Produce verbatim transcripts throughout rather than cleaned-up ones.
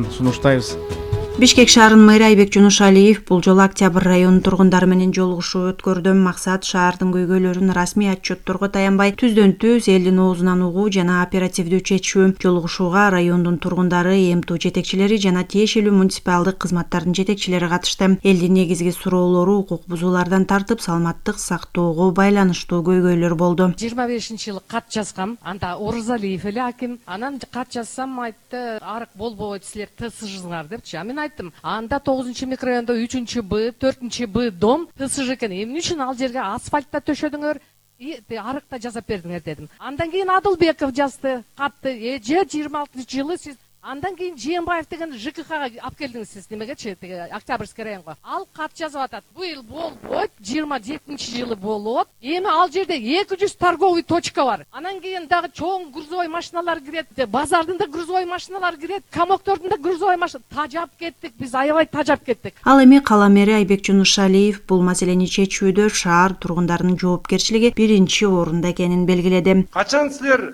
сунуштайбыз. Бишкек шаарынын мэрі Айбек Жунушалиев бул жолу Октябрь районунун тургундары менен жолугушуу өткөрдү. Максат шаардын көйгөйлөрүн расмий отчетторго таянбай түздөн түз элдин оозунан угуу жана оперативдүү чечүү. Жолугушууга райондун тургундары, эми жетекчилери жана тиешелүү муниципалдык кызматтардын жетекчилери катышты. Элдин негизги суроолору укук бузуулардан тартып саламаттык сактоого байланыштуу көйгөйлөр болду. жыйырма бешинчи жылы кат жазгам, анда Орузалиев эле аким. Анан кат жазсам айтты, арык болбойт, силер ТСЖсыңар депчи. Мен айттым, анда тогузунчу микрорайондо үчүнчү Б, төртүнчү Б дом ТСЖ экен. Эмне үчүн ал жерге асфальтта төшөдүңөр, арыкта жасап бердиңер дедим. Андан кийин Адылбеков жазды катты. Эже жыйырма алтынчы жылы сиз Андан кийин Жээнбаев деген ЖКХга алып келдиңиз сиз немегечи, Октябрьский районго. Ал кат жазып атат. Быйыл болбойт, жыйырма жетинчи жылы болот. Эми ал жерде эки жүз торговый точка бар. Анан кийин дагы чоң грузовой машиналар кирет, базардын да грузовой машиналар кирет, комоктордун да грузовой машина. Тажап кеттик, биз аябай тажап кеттик. Ал эми кала мэри Айбек Жунушалиев бул маселени чечүүдө шаар тургундарынын жоопкерчилиги биринчи орунда экенин белгиледи. Качан силер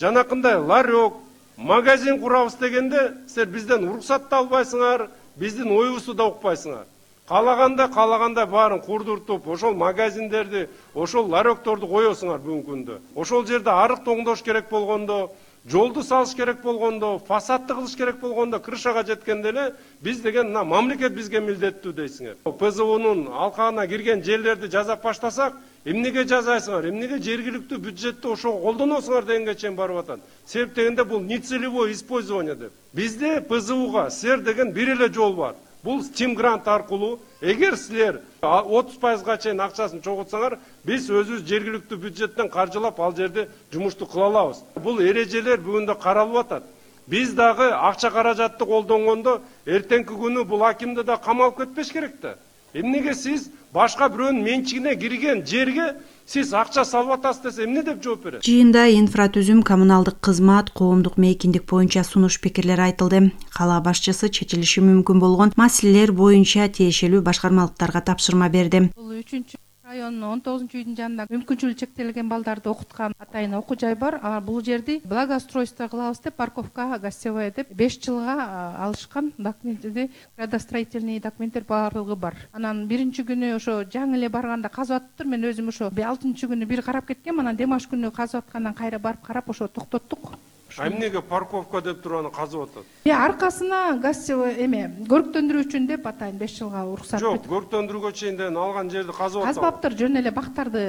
жанакындай ларек, магазин курабыз дегенде силер бизден уруксат да албайсыңар, биздин оюбузду да укпайсыңар. Калаганда калаганда баарын курдуртуп, ошол магазиндерди, ошол ларекторду коесуңар бүгүнкү күндө. Ошол жерде арык тоңдош керек болгондо, жолду салыш керек болгондо, фасадты кылыш керек болгондо, крышага жеткенде эле биз деген мына мамлекет бизге милдеттүү дейсиңер. ПЗУнун алкагына кирген жерлерди жазап баштасак, эмнеге жазайсыңар, эмнеге жергиликтүү бюджетти ошого колдоносуңар дегенге чейин барып атат. Себеп дегенде бул нецелевое использование деп. Бизде ПЗУга сер деген бир эле жол бар. Бул Steam грант аркылуу, эгер силер отуз пайызга чейин акчасын чогултсаңар, биз өзүбүз жергиликтүү бюджеттен каржылап ал жерде жумушту кыла алабыз. Бул эрежелер бүгүндө каралып атат. Биз дагы акча каражатты колдонгондо эртеңки күнү бул акимди да камалып кетпеш керек да. Эмнеге сиз башка бирөөнүн менчигине кирген жерге сиз акча салып атасыз десе эмне деп жооп берет? Жыйында инфратүзүм, коммуналдык кызмат, коомдук мейкиндик боюнча сунуш пикирлер айтылды. Кала башчысы чечилиши мүмкүн болгон маселелер боюнча тиешелүү башкармалыктарга тапшырма берди. Бул үчүнчү райондун он тогузунчу үйдүн жанында мүмкүнчүлүгү чектелген балдарды окуткан атайын окуу жай бар. Бул жерди благоустройство кылабыз деп, парковка гостевая деп беш жылга алышкан документти, градостроительный документтер баардыгы бар. Анан биринчи күнү ошо жаңы эле барганда казып атыптыр. Мен өзүм ошо алтынчы күнү бир карап кеткем, анан демаш күнү казып аткандан кайра барып карап ошо токтоттук. Эмнеге парковка деп туруп аны казып атат? Э, аркасына гостевой эме көрктөндүрүү үчүн деп атайын беш жылга уруксат. Жок, көрктөндүрүүгө чейин алган жерди казып атат. Казбаптыр, жөн эле бактарды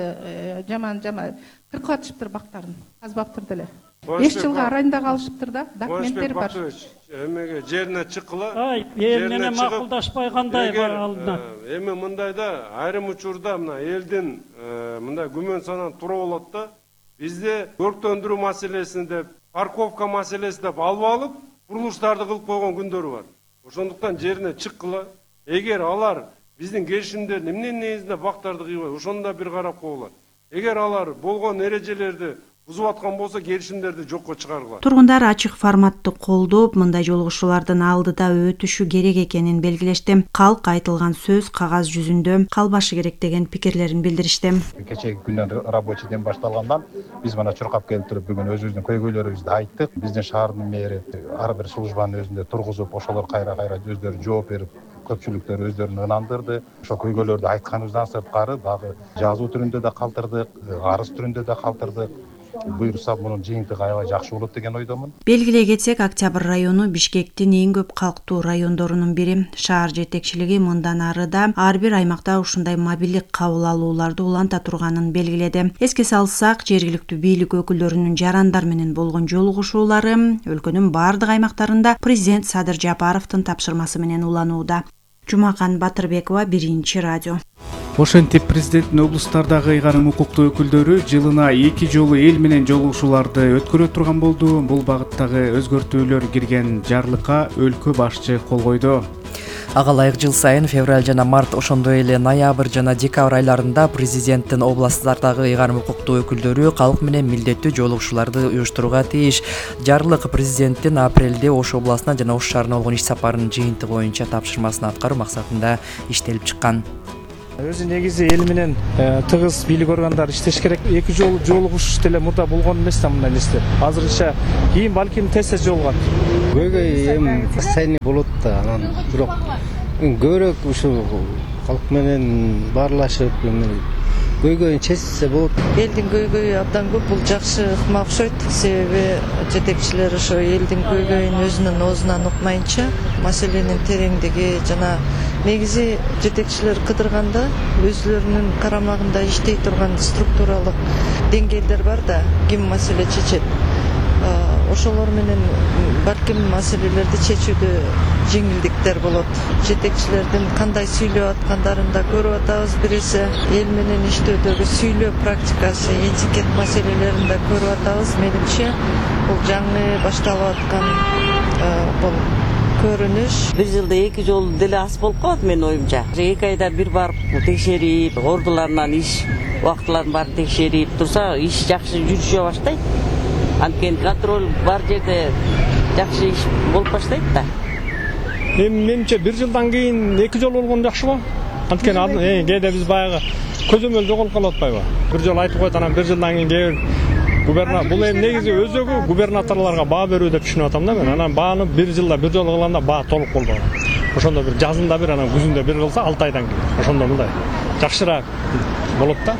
жаман жаман кыркып атышыптыр бактарын. Казбаптыр деле. беш жылга арайында калышыптыр да, документтер бар. Эмеге жерине чыккыла. Ай, жерине макулдашпай кандай бар алдына. Эми мындайда айрым учурда мына элдин мындай күмөн санан тура болот да. Бизде көрктөндүрүү маселесинде парковка маселеси деп алып алып, курулуштарды кылып койгон күндөрү бар. Ошондуктан жерине чыккыла. Эгер алар биздин келишимдердин эмне негизинде бактарды кыйбай, ошондо бир карап коелат. Эгер алар болгон эрежелерди бузуп аткан болсо, келишимдерди жокко чыгаргыла. Тургундар ачык форматты колдоп, мындай жолугушуулардын алдыда өтүшү керек экенин белгилешти. Калк айтылган сөз кагаз жүзүндө калбашы керек деген пикирлерин билдиришти. Кечеги күндөн рабочий дем башталгандан биз мына чуркап келип туруп бүгүн өзүбүздүн көйгөйлөрүбүздү айттык. Биздин шаардын мэри ар бир службанын өзүндө тургузуп, ошолор кайра-кайра өздөрү жооп берип, көпчүлүктөр өздөрүн ынандырды. Ошо көйгөйлөрдү айтканыбыздан сырткары дагы жазуу түрүндө да калтырдык, арыз түрүндө да калтырдык. Буюрса мунун жыйынтыгы аябай жакшы болот деген ойдомун. Белгилей кетсек, Октябрь району Бишкектин эң көп калктуу райондорунун бири. Шаар жетекчилиги мындан ары да ар бир аймакта ушундай мобилдик кабыл алууларды уланта турганын белгиледи. Эске салсак, жергиликтүү бийлик өкүлдөрүнүн жарандар менен болгон жолугушуулары өлкөнүн бардык аймактарында президент Садыр Жапаровдун тапшырмасы менен уланууда. Жумакан Батырбекова, Биринчи радио. Ошентип президенттин облустардагы ыйгарым укуктуу өкүлдөрү жылына эки жолу эл менен жолугушууларды өткөрө турган болду. Бул багыттагы өзгөртүүлөр кирген жарлыкка өлкө башчы кол койду. Ага ылайык жыл сайын февраль жана март, ошондой эле ноябрь жана декабрь айларында президенттин областтардагы ыйгарым укуктуу өкүлдөрү калк менен милдеттүү жолугушууларды уюштурууга тийиш. Жарлык президенттин апрелде Ош областына жана Ош шаарына болгон иш сапарынын жыйынтыгы боюнча тапшырмасын аткаруу максатында иштелип чыккан. Өзү негизи эл менен тыгыз бийлик органдары иштеш керек. Эки жолу жолугушуш деле мурда болгон эмес да мындай нерсе. Азырынча кийин балким тез тез жолугат. көйгөй эми постоянный болот да, анан бирок көбүрөөк ушу калк менен баарлашып көйгөйүн чечсе болот. Элдин көйгөйү абдан көп, бул жакшы ыкма окшойт. Себеби жетекчилер ошо элдин көйгөйүн өзүнүн оозунан укмайынча, маселенин тереңдиги жана негизи жетекчилер кыдырганда өзүлөрүнүн карамагында иштей турган структуралык деңгээлдер бар да, ким маселе чечет. Ошолор менен балким маселелерди чечүүдө жеңилдиктер болот. Жетекчилердин кандай сүйлөп аткандарын да көрүп атабыз. Биресе эл менен иштөөдөгү сүйлөө практикасы, этикет маселелерин да көрүп атабыз. Менимче бул жаңы башталып аткан бул көрүнүш. Бир жылда эки жолу деле аз болуп калат менин оюмча. Эки айда бир барып текшерип, ордуларынан иш убактыларын баарын текшерип турса, иш жакшы жүрүшө баштайт. Анткени контроль бар жерде жакшы иш болуп баштайт да. Эми менимче бир жылдан кийин эки жолу болгон жакшыбы? Анткени кээде биз баягы көзөмөл жоголуп калып атпайбы? Бир жолу айтып коет, анан бир жылдан кийин кээ бир губернатор, бул эми негизи өзөгү губернаторлорго баа берүү деп түшүнүп атам да мен. Анан бааны бир жылда бир жолу кылганда баа толук болбогон. Ошондо бир жазында бир, анан күзүндө бир кылса алты айдан кийин. Ошондо мындай жакшыраак болот да.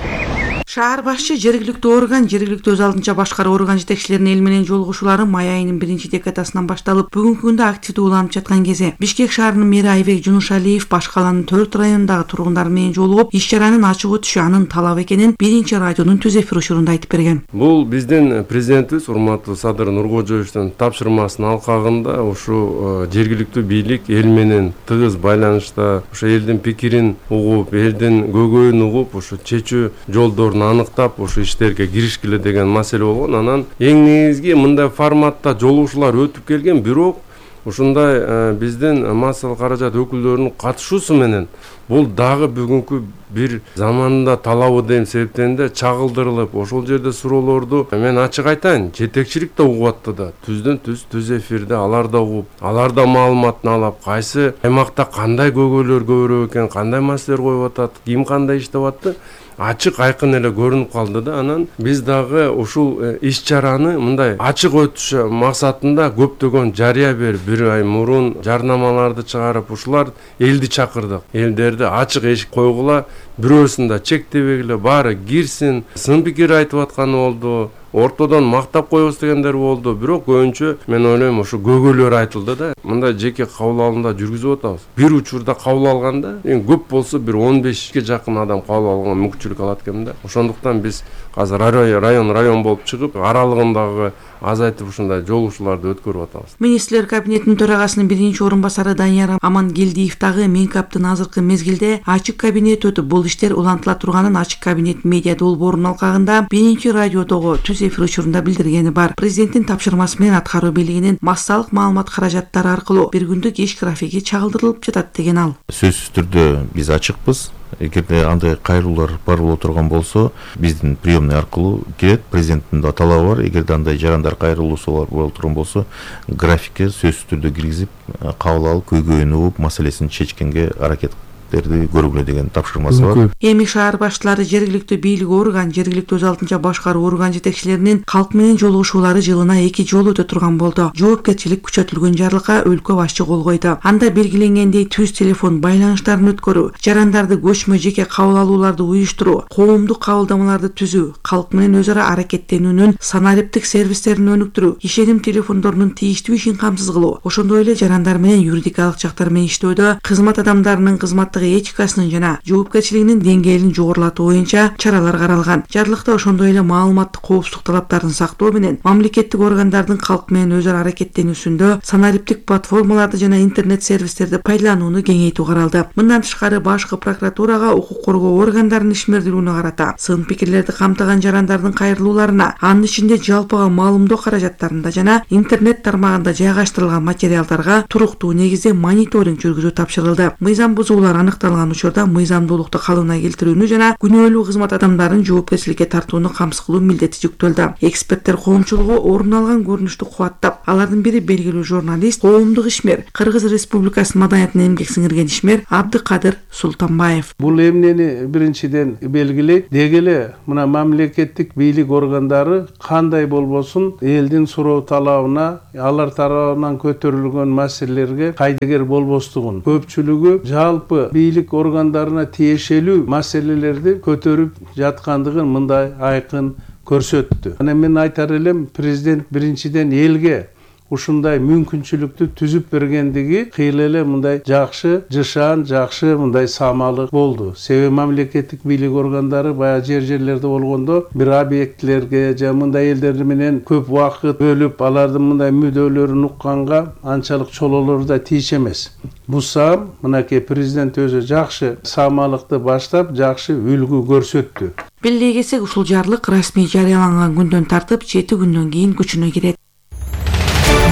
Шаар башчы жергиликтүү орган, жергиликтүү өз алдынча башкаруу орган жетекчилеринин эл менен жолугушуулары май айынын биринчи декадасынан башталып, бүгүнкү күндө активдүү уланып жаткан кези. Бишкек шаарынын мэри Айбек Жунушалиев башка каланын төрт районундагы тургундар менен жолугуп, иш чаранын ачык өтүшү анын талабы экенин биринчи радионун түз эфир учурунда айтып берген. Бул биздин президентибиз урматтуу Садыр Нуркожоевичтин тапшырмасынын алкагында ушу жергиликтүү бийлик эл менен тыгыз байланышта, ошо элдин пикирин угуп, элдин көйгөйүн угуп, ушу чечүү жолдорун аныктап ушу иштерге киришкиле деген маселе болгон. Анан эң негизги мындай форматта жолугушуулар өтүп келген, бирок ушундай биздин массалык каражат өкүлдөрүнүн катышуусу менен бул дагы бүгүнкү бир заманында талабы деген себептен да чагылдырылып, ошол жерде суроолорду мен ачык айтайын, жетекчилик да угуп атты да, түздөн түз түз эфирде алар да угуп, алар да маалыматын алып, кайсы аймакта кандай көйгөйлөр көбүрөөк экен, кандай маселелер коюп атат, ким кандай иштеп атты, ачык айкын эле көрүнүп калды да. Анан биз дагы ушул иш чараны мындай ачык өтүшү максатында көптөгөн жарыя берип, бир ай мурун жарнамаларды чыгарып, ушулар элди чакырдык. Элдерди ачык эшик койгула, бирөөсүн да чектебегиле, баары кирсин, сын пикир айтып атканы болду. Ортодон мактап коебуз дегендер болду, бирок көбүнчө мен ойлойм ушу көйгөйлөр айтылды да. Мындай жеке кабыл алымда жүргүзүп атабыз. Бир учурда кабыл алганда, эң көп болсо бир он бешке жакын адам кабыл алганга мүмкүнчүлүк алат экен да. Ошондуктан биз азыр район район болуп чыгып, аралыгындагы азайтып ушундай жолугушууларды өткөрүп атабыз. Министрлер кабинетинин төрагасынын биринчи орун басары Данияр Амангелдиев дагы Минкаптын азыркы мезгилде ачык кабинет өтүп, бул иштер улантыла турганын ачык кабинет медиа долбоорунун алкагында биринчи радиодогу түз эфир учурунда билдиргени бар. Президенттин тапшырмасы менен аткаруу бийлигинин массалык маалымат каражаттары аркылуу бир күндүк иш графиги чагылдырылып жатат деген ал. Сөзсүз түрдө биз ачыкпыз. Эгерде андай кайрылуулар бар боло турган болсо, биздин приемный аркылуу келет. Президенттин да талабы бар. Эгерде андай жарандар кайрылуусу боло турган болсо, графикке сөзсүз түрдө киргизип, кабыл алып, көйгөйүн угуп, маселесин чечкенге аракет көргүлө деген тапшырмасы бар. Эми шаар башчылары, жергиликтүү бийлик орган, жергиликтүү өз алдынча башкаруу орган жетекчилеринин калк менен жолугушуулары жылына эки жолу өтө турган болду. Жоопкерчилик күчөтүлгөн жарлыкка өлкө башчы кол койду. Анда белгиленгендей түз телефон байланыштарын өткөрүү, жарандарды көчмө жеке кабыл алууларды уюштуруу, коомдук кабылдамаларды түзүү, калк менен өз ара аракеттенүүнүн санариптик сервистерин өнүктүрүү, ишеним телефондорунун тийиштүү ишин камсыз кылуу, ошондой эле жарандар менен юридикалык жактар менен иштөөдө кызмат адамдарынын кызматтык этикасынын жана жоопкерчилигинин деңгээлин жогорулатуу боюнча чаралар каралган. Жарлыкта ошондой эле маалыматтык коопсуздук талаптарын сактоо менен мамлекеттик органдардын калк менен өз ара аракеттенүүсүндө санариптик платформаларды жана интернет сервистерди пайдаланууну кеңейтүү каралды. Мындан тышкары башкы прокуратурага укук коргоо органдарынын ишмердүүлүгүнө карата сын пикирлерди камтыган жарандардын кайрылууларына, анын ичинде жалпыга маалымдоо каражаттарында жана интернет тармагында жайгаштырылган материалдарга туруктуу негизде мониторинг жүргүзүү тапшырылды. Мыйзам бузуулар аныкталган учурда мыйзамдуулукту калыбына келтирүүнү жана күнөөлүү кызмат адамдарын жоопкерчиликке тартууну камсыз кылуу милдети жүктөлдү. Эксперттер коомчулугу орун алган көрүнүштү кубаттап, алардын бири белгилүү журналист, коомдук ишмер, Кыргыз Республикасынын маданиятына эмгек сиңирген ишмер Абдыкадыр Султанбаев. Бул эмнени биринчиден белгилейт, деги эле мына мамлекеттик бийлик органдары кандай болбосун элдин суроо талабына, алар тарабынан көтөрүлгөн маселелерге кайдыгер болбостугун, көпчүлүгү жалпы бийлик органдарына тиешелүү маселелерди көтөрүп жаткандыгын мындай айкын көрсөттү. Анан мен айтар элем, президент биринчиден элге ушундай мүмкүнчүлүктү түзүп бергендиги кыйла эле мындай жакшы, жышаан, жакшы мындай самалык болду. Себеби мамлекеттик бийлик органдары баягы жер жерлерде болгондо бир объектилерге же мындай элдер менен көп убакыт бөлүп, алардын мындай мүдөлөрүн укканга анчалык чолоолору да тийиш эмес. Бусам мынакей президент өзү жакшы самалыкты баштап, жакшы үлгү көрсөттү. Белгилей кетсек, ушул жарлык расмий жарыяланган күндөн тартып жети күндөн кийин күчүнө кирет.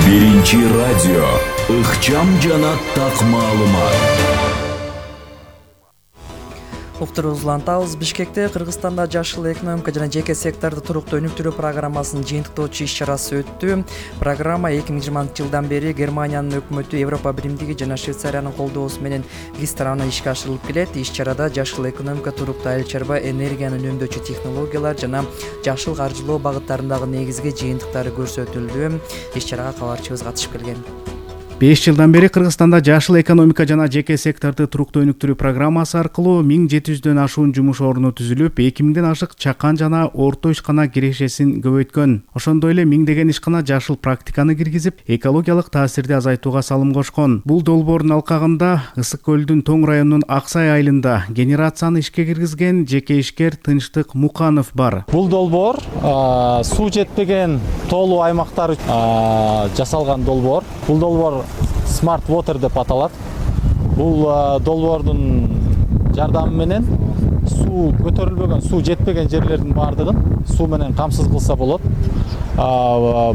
Биринчи радио ыкчам жана так маалымат. Уктуруубузду улантабыз. Бишкекте Кыргызстанда жашыл экономика жана жеке секторду туруктуу өнүктүрүү программасынын жыйынтыктоочу иш-чарасы өттү. Программа эки миң жыйырманчы жылдан бери Германиянын өкмөтү, Европа биримдиги жана Швейцариянын колдоосу менен биз тарабынан ишке ашырылып келет. Иш-чарада жашыл экономика, туруктуу айыл чарба, энергияны үнөмдөөчү технологиялар жана жашыл каржылоо багыттарындагы негизги жыйынтыктары көрсөтүлдү. Иш-чарага кабарчыбыз катышып келген. беш жылдан бери Кыргызстанда жашыл экономика жана жеке секторду туруктуу өнүктүрүү программасы аркылуу миң жети жүздөн ашуун жумуш орну түзүлүп, эки миңден ашык чакан жана орто ишкана кирешесин көбөйткөн. Ошондой эле миңдеген ишкана жашыл практиканы киргизип, экологиялык таасирди азайтууга салым кошкон. Бул долбоордун алкагында Ысык көлдүн Тоң районунун Аксай айылында генерацияны ишке киргизген жеке ишкер Тынчтык Муканов бар. Бул долбоор суу жетпеген тоолуу аймактар жасалган долбоор. Бул долбоор Smart Water деп аталат. Бул долбоордун жардамы менен суу көтөрүлбөгөн, суу жетпеген жерлердин баардыгын суу менен камсыз кылса болот.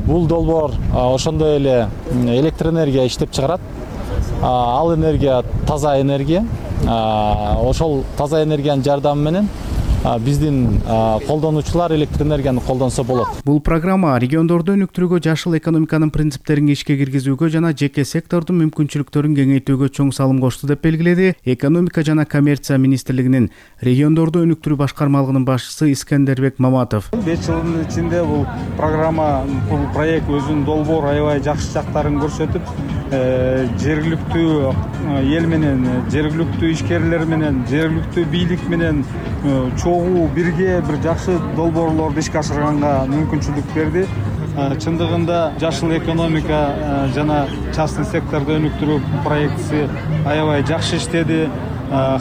Бул долбоор ошондой эле электр энергия иштеп чыгарат. Ал энергия таза энергия. Ошол таза энергиянын жардамы менен биздин колдонуучулар электр энергияны колдонсо болот. Бул программа региондорду өнүктүрүүгө, жашыл экономиканын принциптерин ишке киргизүүгө жана жеке сектордун мүмкүнчүлүктөрүн кеңейтүүгө чоң салым кошту деп белгиледи Экономика жана коммерция министрлигинин региондорду өнүктүрүү башкармалыгынын башчысы Искендербек Маматов. беш жылдын ичинде бул программа, бул проект өзүнүн долбоор аябай жакшы жактарын көрсөтүп, жергиликтүү эл менен, жергиликтүү ишкерлер менен, жергиликтүү бийлик менен чогуу бирге бир жакшы долбоорлорду ишке ашырганга мүмкүнчүлүк берди. Чындыгында жашыл экономика жана частный секторду өнүктүрүү проектиси аябай жакшы иштеди.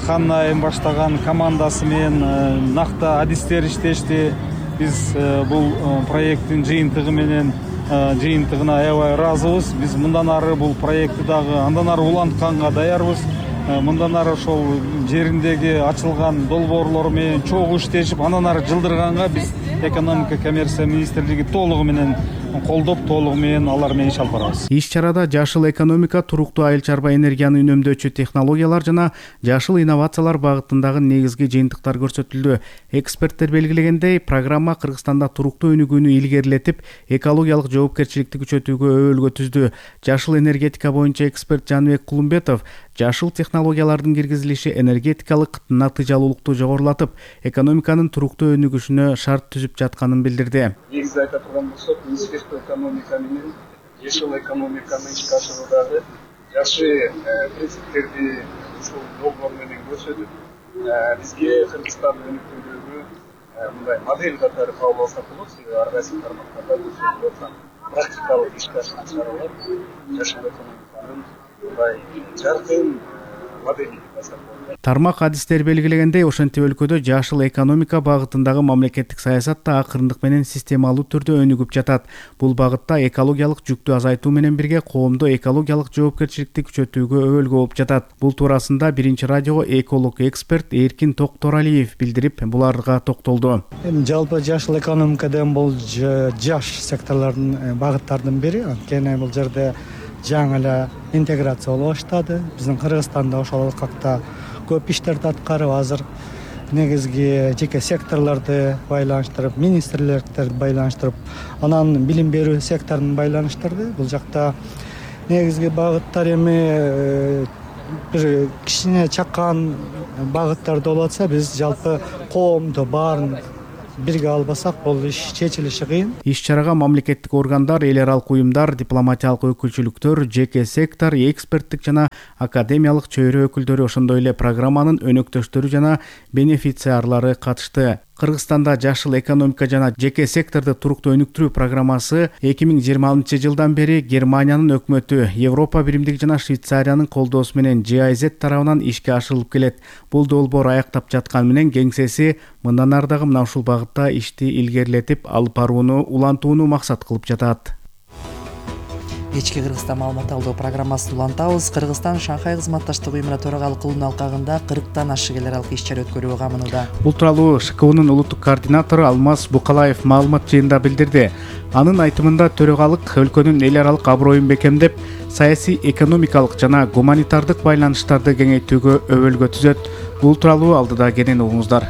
Ханна баштаган командасы менен накта адистер иштешти. Биз бул проекттин жыйынтыгы менен жыйынтыгына аябай ыраазыбыз. Биз мындан ары бул проектти дагы андан ары улантканга даярбыз. Мындан ары ошол жериндеги ачылган долбоорлор менен чогуу иштешип, андан ары жылдырганга биз экономика коммерция министрлиги толугу менен колдоп, толугу менен алар менен иш алып барабыз. Иш-чарада жашыл экономика, туруктуу айыл чарба, энергияны үнөмдөөчү технологиялар жана жашыл инновациялар багытындагы негизги жыйынтыктар көрсөтүлдү. Эксперттер белгилегендей, программа Кыргызстанда туруктуу өнүгүүнү илгерилетип, экологиялык жоопкерчиликти күчөтүүгө өбөлгө түздү. Жашыл энергетика боюнча эксперт Жаныбек Кулумбетов жашыл технологиялардын киргизилиши энергетикалык натыйжалуулукту жогорулатып, экономиканын туруктуу өнүгүшүнө шарт түзүп жатканын билдирди. Негизи айта турган болсок, Министерство экономика менен жашыл экономиканы ишке ашыруудагы жакшы принциптерди ушул долбоор менен көрсөтүп, бизге Кыргызстанды өнүктүрүүгө мындай модель катары кабыл алсак болот. Себеби ар кайсы тармактарда көрсөтүлүп аткан практикалык ишке ашкан чаралар жашыл экономиканын мындай жаркын модели жасап койгон. Тармак адистер белгилегендей, ошентип өлкөдө жашыл экономика багытындагы мамлекеттик саясат да акырындык менен системалуу түрдө өнүгүп жатат. Бул багытта экологиялык жүктү азайтуу менен бирге коомдо экологиялык жоопкерчиликти күчөтүүгө өбөлгө болуп жатат. Бул туурасында биринчи радиого эколог эксперт Эркин Токторалиев билдирип, буларга токтолду. Эми жалпы жашыл экономика деген бул жаш секторлордун багыттардын бири. Анткени бул жерде жаңы эле интеграция боло баштады. Биздин Кыргызстанда ошол алкакта көп иштерди аткарып азыр негизги жеке секторлорду байланыштырып, министрликтерди байланыштырып, анан билим берүү секторун байланыштырды. Бул жакта негизги багыттар эми бир кичине чакан багыттарда болуп атса, биз жалпы коомду баарын бирге албасак бул иш чечилиши кыйын. Иш-чарага мамлекеттик органдар, эл аралык уюмдар, дипломатиялык өкүлчүлүктөр, жеке сектор, эксперттик жана академиялык чөйрө өкүлдөрү, ошондой эле программанын өнөктөштөрү жана бенефициарлары катышты. Кыргызстанда жашыл экономика жана жеке секторду туруктуу өнүктүрүү программасы эки миң жыйырма алтынчы жылдан бери Германиянын өкмөтү, Европа биримдиги жана Швейцариянын колдоосу менен джи ай зет тарабынан ишке ашырылып келет. Бул долбоор аяктап жаткан менен кеңсеси мындан ары дагы мына ушул багытта ишти илгерилетип алып барууну, улантууну максат кылып жатат. Кечки Кыргызстан маалымат алуу программасын улантабыз. Кыргызстан Шанхай кызматташтык уюмуна төрагалык кылуунун алкагында кырктан ашык эл аралык иш-чара өткөрүүгө камынууда. Бул тууралуу ШК унун улуттук координатору Алмаз Букалаев маалымат жыйынында билдирди. Анын айтымында төрагалык өлкөнүн эл аралык аброюн бекемдеп, саясий, экономикалык жана гуманитардык байланыштарды кеңейтүүгө өбөлгө түзөт. Бул тууралуу алдыда кенен угуңуздар.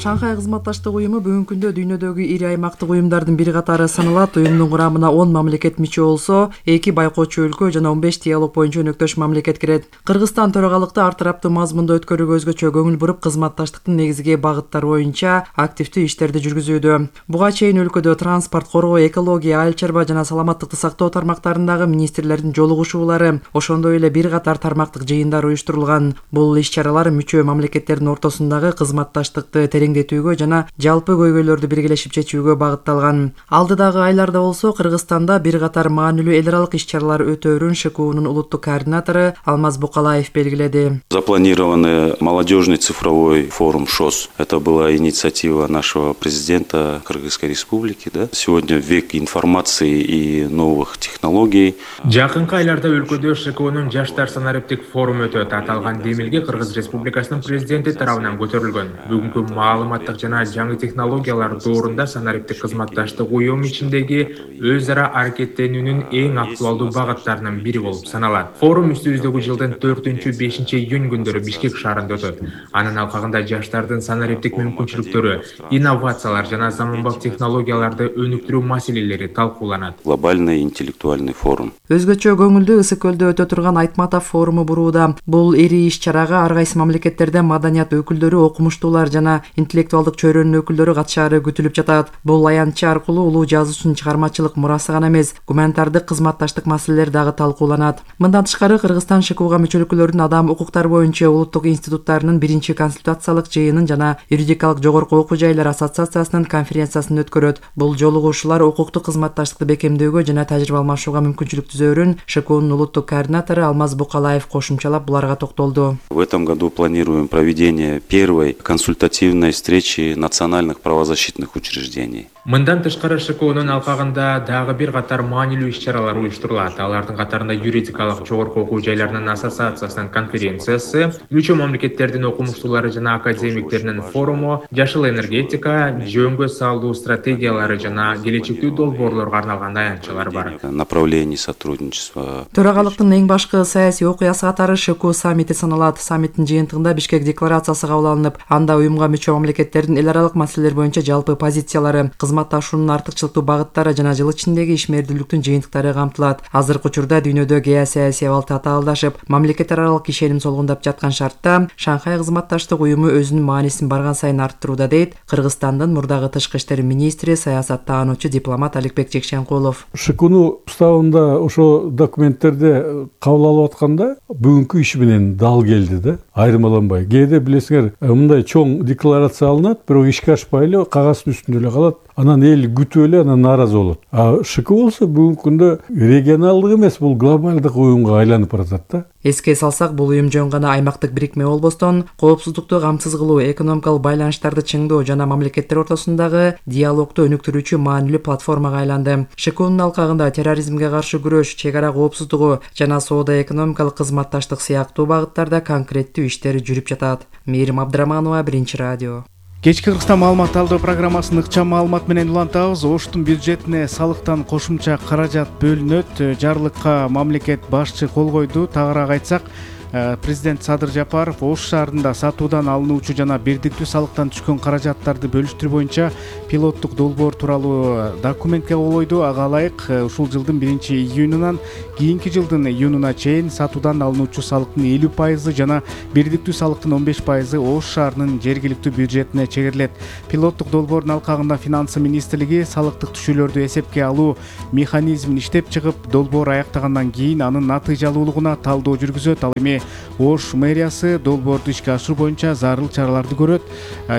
Шанхай кызматташтык уюму бүгүнкү күндө дүйнөдөгү ири аймактык уюмдардын бири катары саналат. Уюмдун курамына он мамлекет мүчө болсо, эки байкоочу өлкө жана он беш диалог боюнча өнөктөш мамлекет кирет. Кыргызстан төрагалыкты ар тараптуу мазмунда өткөрүүгө өзгөчө көңүл буруп, кызматташтыктын негизги багыттары боюнча активдүү иштерди жүргүзүүдө. Буга чейин өлкөдө транспорт, коргоо, экология, айыл чарба жана саламаттыкты сактоо тармактарындагы министрлердин жолугушуулары, ошондой эле бир катар тармактык жыйындар уюштурулган. Бул иш-чаралар мүчө мамлекеттердин ортосундагы кызматташтыкты тереңдетүүгө жана жалпы көйгөйлөрдү биргелешип чечүүгө багытталган. Алдыдагы айларда болсо Кыргызстанда бир катар маанилүү эл аралык иш-чаралар өтөөрүн ШК унун улуттук координатору Алмаз Букалаев белгиледи. Запланированный молодежный цифровой форум ШОС. Это была инициатива нашего президента Кыргызской республики. Да? Сегодня век информации и новых технологий. Жакынкы айларда өлкөдө ШК унун жаштар санариптик форуму өтөт. Аталган демилге Кыргыз Республикасынын президенти тарабынан көтөрүлгөн. Бүгүнкү маалыматтык жана жаңы технологиялар доорунда санариптик кызматташтык уюм ичиндеги өз ара аракеттенүүнүн эң актуалдуу багыттарынын бири болуп саналат. Форум үстүбүздөгү жылдын төртүнчү бешинчи июнь күндөрү Бишкек шаарында өтөт. Анын алкагында жаштардын санариптик мүмкүнчүлүктөрү, инновациялар жана заманбап технологияларды өнүктүрүү маселелери талкууланат. Глобальный интеллектуальный форум. Өзгөчө көңүлдүү ысык көлдө өтө турган Айтматов форуму бурууда. Бул ири иш-чарага ар кайсы мамлекеттерден маданият өкүлдөрү, окумуштуулар жана интеллектуалдык чөйрөнүн өкүлдөрү катышаары күтүлүп жатат. Бул аянтчы аркылуу улуу жазуучунун чыгармачылык мурасы гана эмес, гуманитардык кызматташтык маселелер дагы талкууланат. Мындан тышкары Кыргызстан ШКУга мүчө өлкөлөрдүн адам укуктары боюнча улуттук институттарынын биринчи консультациялык жыйынын жана юридикалык жогорку окуу жайлар ассоциациясынын конференциясын өткөрөт. Бул жолугушуулар укуктук кызматташтыкты бекемдөөгө жана тажрыйба алмашууга мүмкүнчүлүк түзөөрүн ШК унун улуттук координатору Алмаз Букалаев кошумчалап буларга токтолду. В этом году планируем проведение первой консультативной встречи национальных правозащитных учреждений. Мындан тышкары ШК унун алкагында дагы бир катар маанилүү иш-чаралар уюштурулат. Алардын катарында юридикалык жогорку окуу жайларынын ассоциациясынын конференциясы, мүчө мамлекеттердин окумуштуулары жана академиктеринин форуму, жашыл энергетика, жөнгө салуу стратегиялары жана келечектүү долбоорлорго арналган аянтчалар бар. Направлений сотрудничества. Төрагалыктын эң башкы саясий окуясы катары ШК саммити саналат. Саммиттин жыйынтыгында Бишкек декларациясы кабыл алынып, анда уюмга мүчө мамлекеттердин эл аралык маселелер боюнча жалпы позициялары, кызматташуунун артыкчылыктуу багыттары жана жыл ичиндеги ишмердүүлүктүн жыйынтыктары камтылат. Азыркы учурда дүйнөдө геосаясий абал татаалдашып, мамлекет аралык ишеним солгундап жаткан шартта Шанхай кызматташтык уюму өзүнүн маанисин барган сайын арттырууда, дейт Кыргызстандын мурдагы тышкы иштер министри, саясаттаануучу дипломат Аликбек Жекшенкулов. ШКУнун уставында ошо документтерди кабыл алып атканда бүгүнкү иш менен дал келди да, айырмаланбай. Кээде билесиңер, мындай чоң декларация алынат, бирок ишке ашпай эле кагаздын үстүндө эле калат. Анан эл күтүп эле анан нааразы болот. А ШК болсо бүгүнкү күндө регионалдык эмес, бул глобалдык уюмга айланып баратат да. Эске салсак, бул уюм жөн гана аймактык бирикме болбостон, коопсуздукту камсыз кылуу, экономикалык байланыштарды чыңдоо жана мамлекеттер ортосундагы диалогду өнүктүрүүчү маанилүү платформага айланды. ШКУнун алкагында терроризмге каршы күрөш, чек ара коопсуздугу жана соода-экономикалык кызматташтык сыяктуу багыттарда конкреттүү иштер жүрүп жатат. Мээрим Абдыраманова, Биринчи радио. Кечки Кыргызстан маалымат алуу программасын ыкчам маалымат менен улантабыз. Оштун бюджетине салыктан кошумча каражат бөлүнөт. Жарлыкка мамлекет башчы кол койду. Тагыраак айтсак, Президент Садыр Жапаров Ош шаарында сатуудан алынуучу жана бирдиктүү салыктан түшкөн каражаттарды бөлүштүрүү боюнча пилоттук долбоор тууралуу документке кол койду. Ага ылайык ушул жылдын биринчи июнунан кийинки жылдын июнуна чейин сатуудан алынуучу салыктын элүү пайызы жана бирдиктүү салыктын он беш пайызы Ош шаарынын жергиликтүү бюджетине чегерилет. Пилоттук долбоордун алкагында Финансы министрлиги салыктык түшүүлөрдү эсепке алуу механизмин иштеп чыгып, долбоор аяктагандан кийин анын натыйжалуулугуна талдоо жүргүзөт. Ал эми Ош мэриясы долбоорду ишке ашыруу боюнча зарыл чараларды көрөт.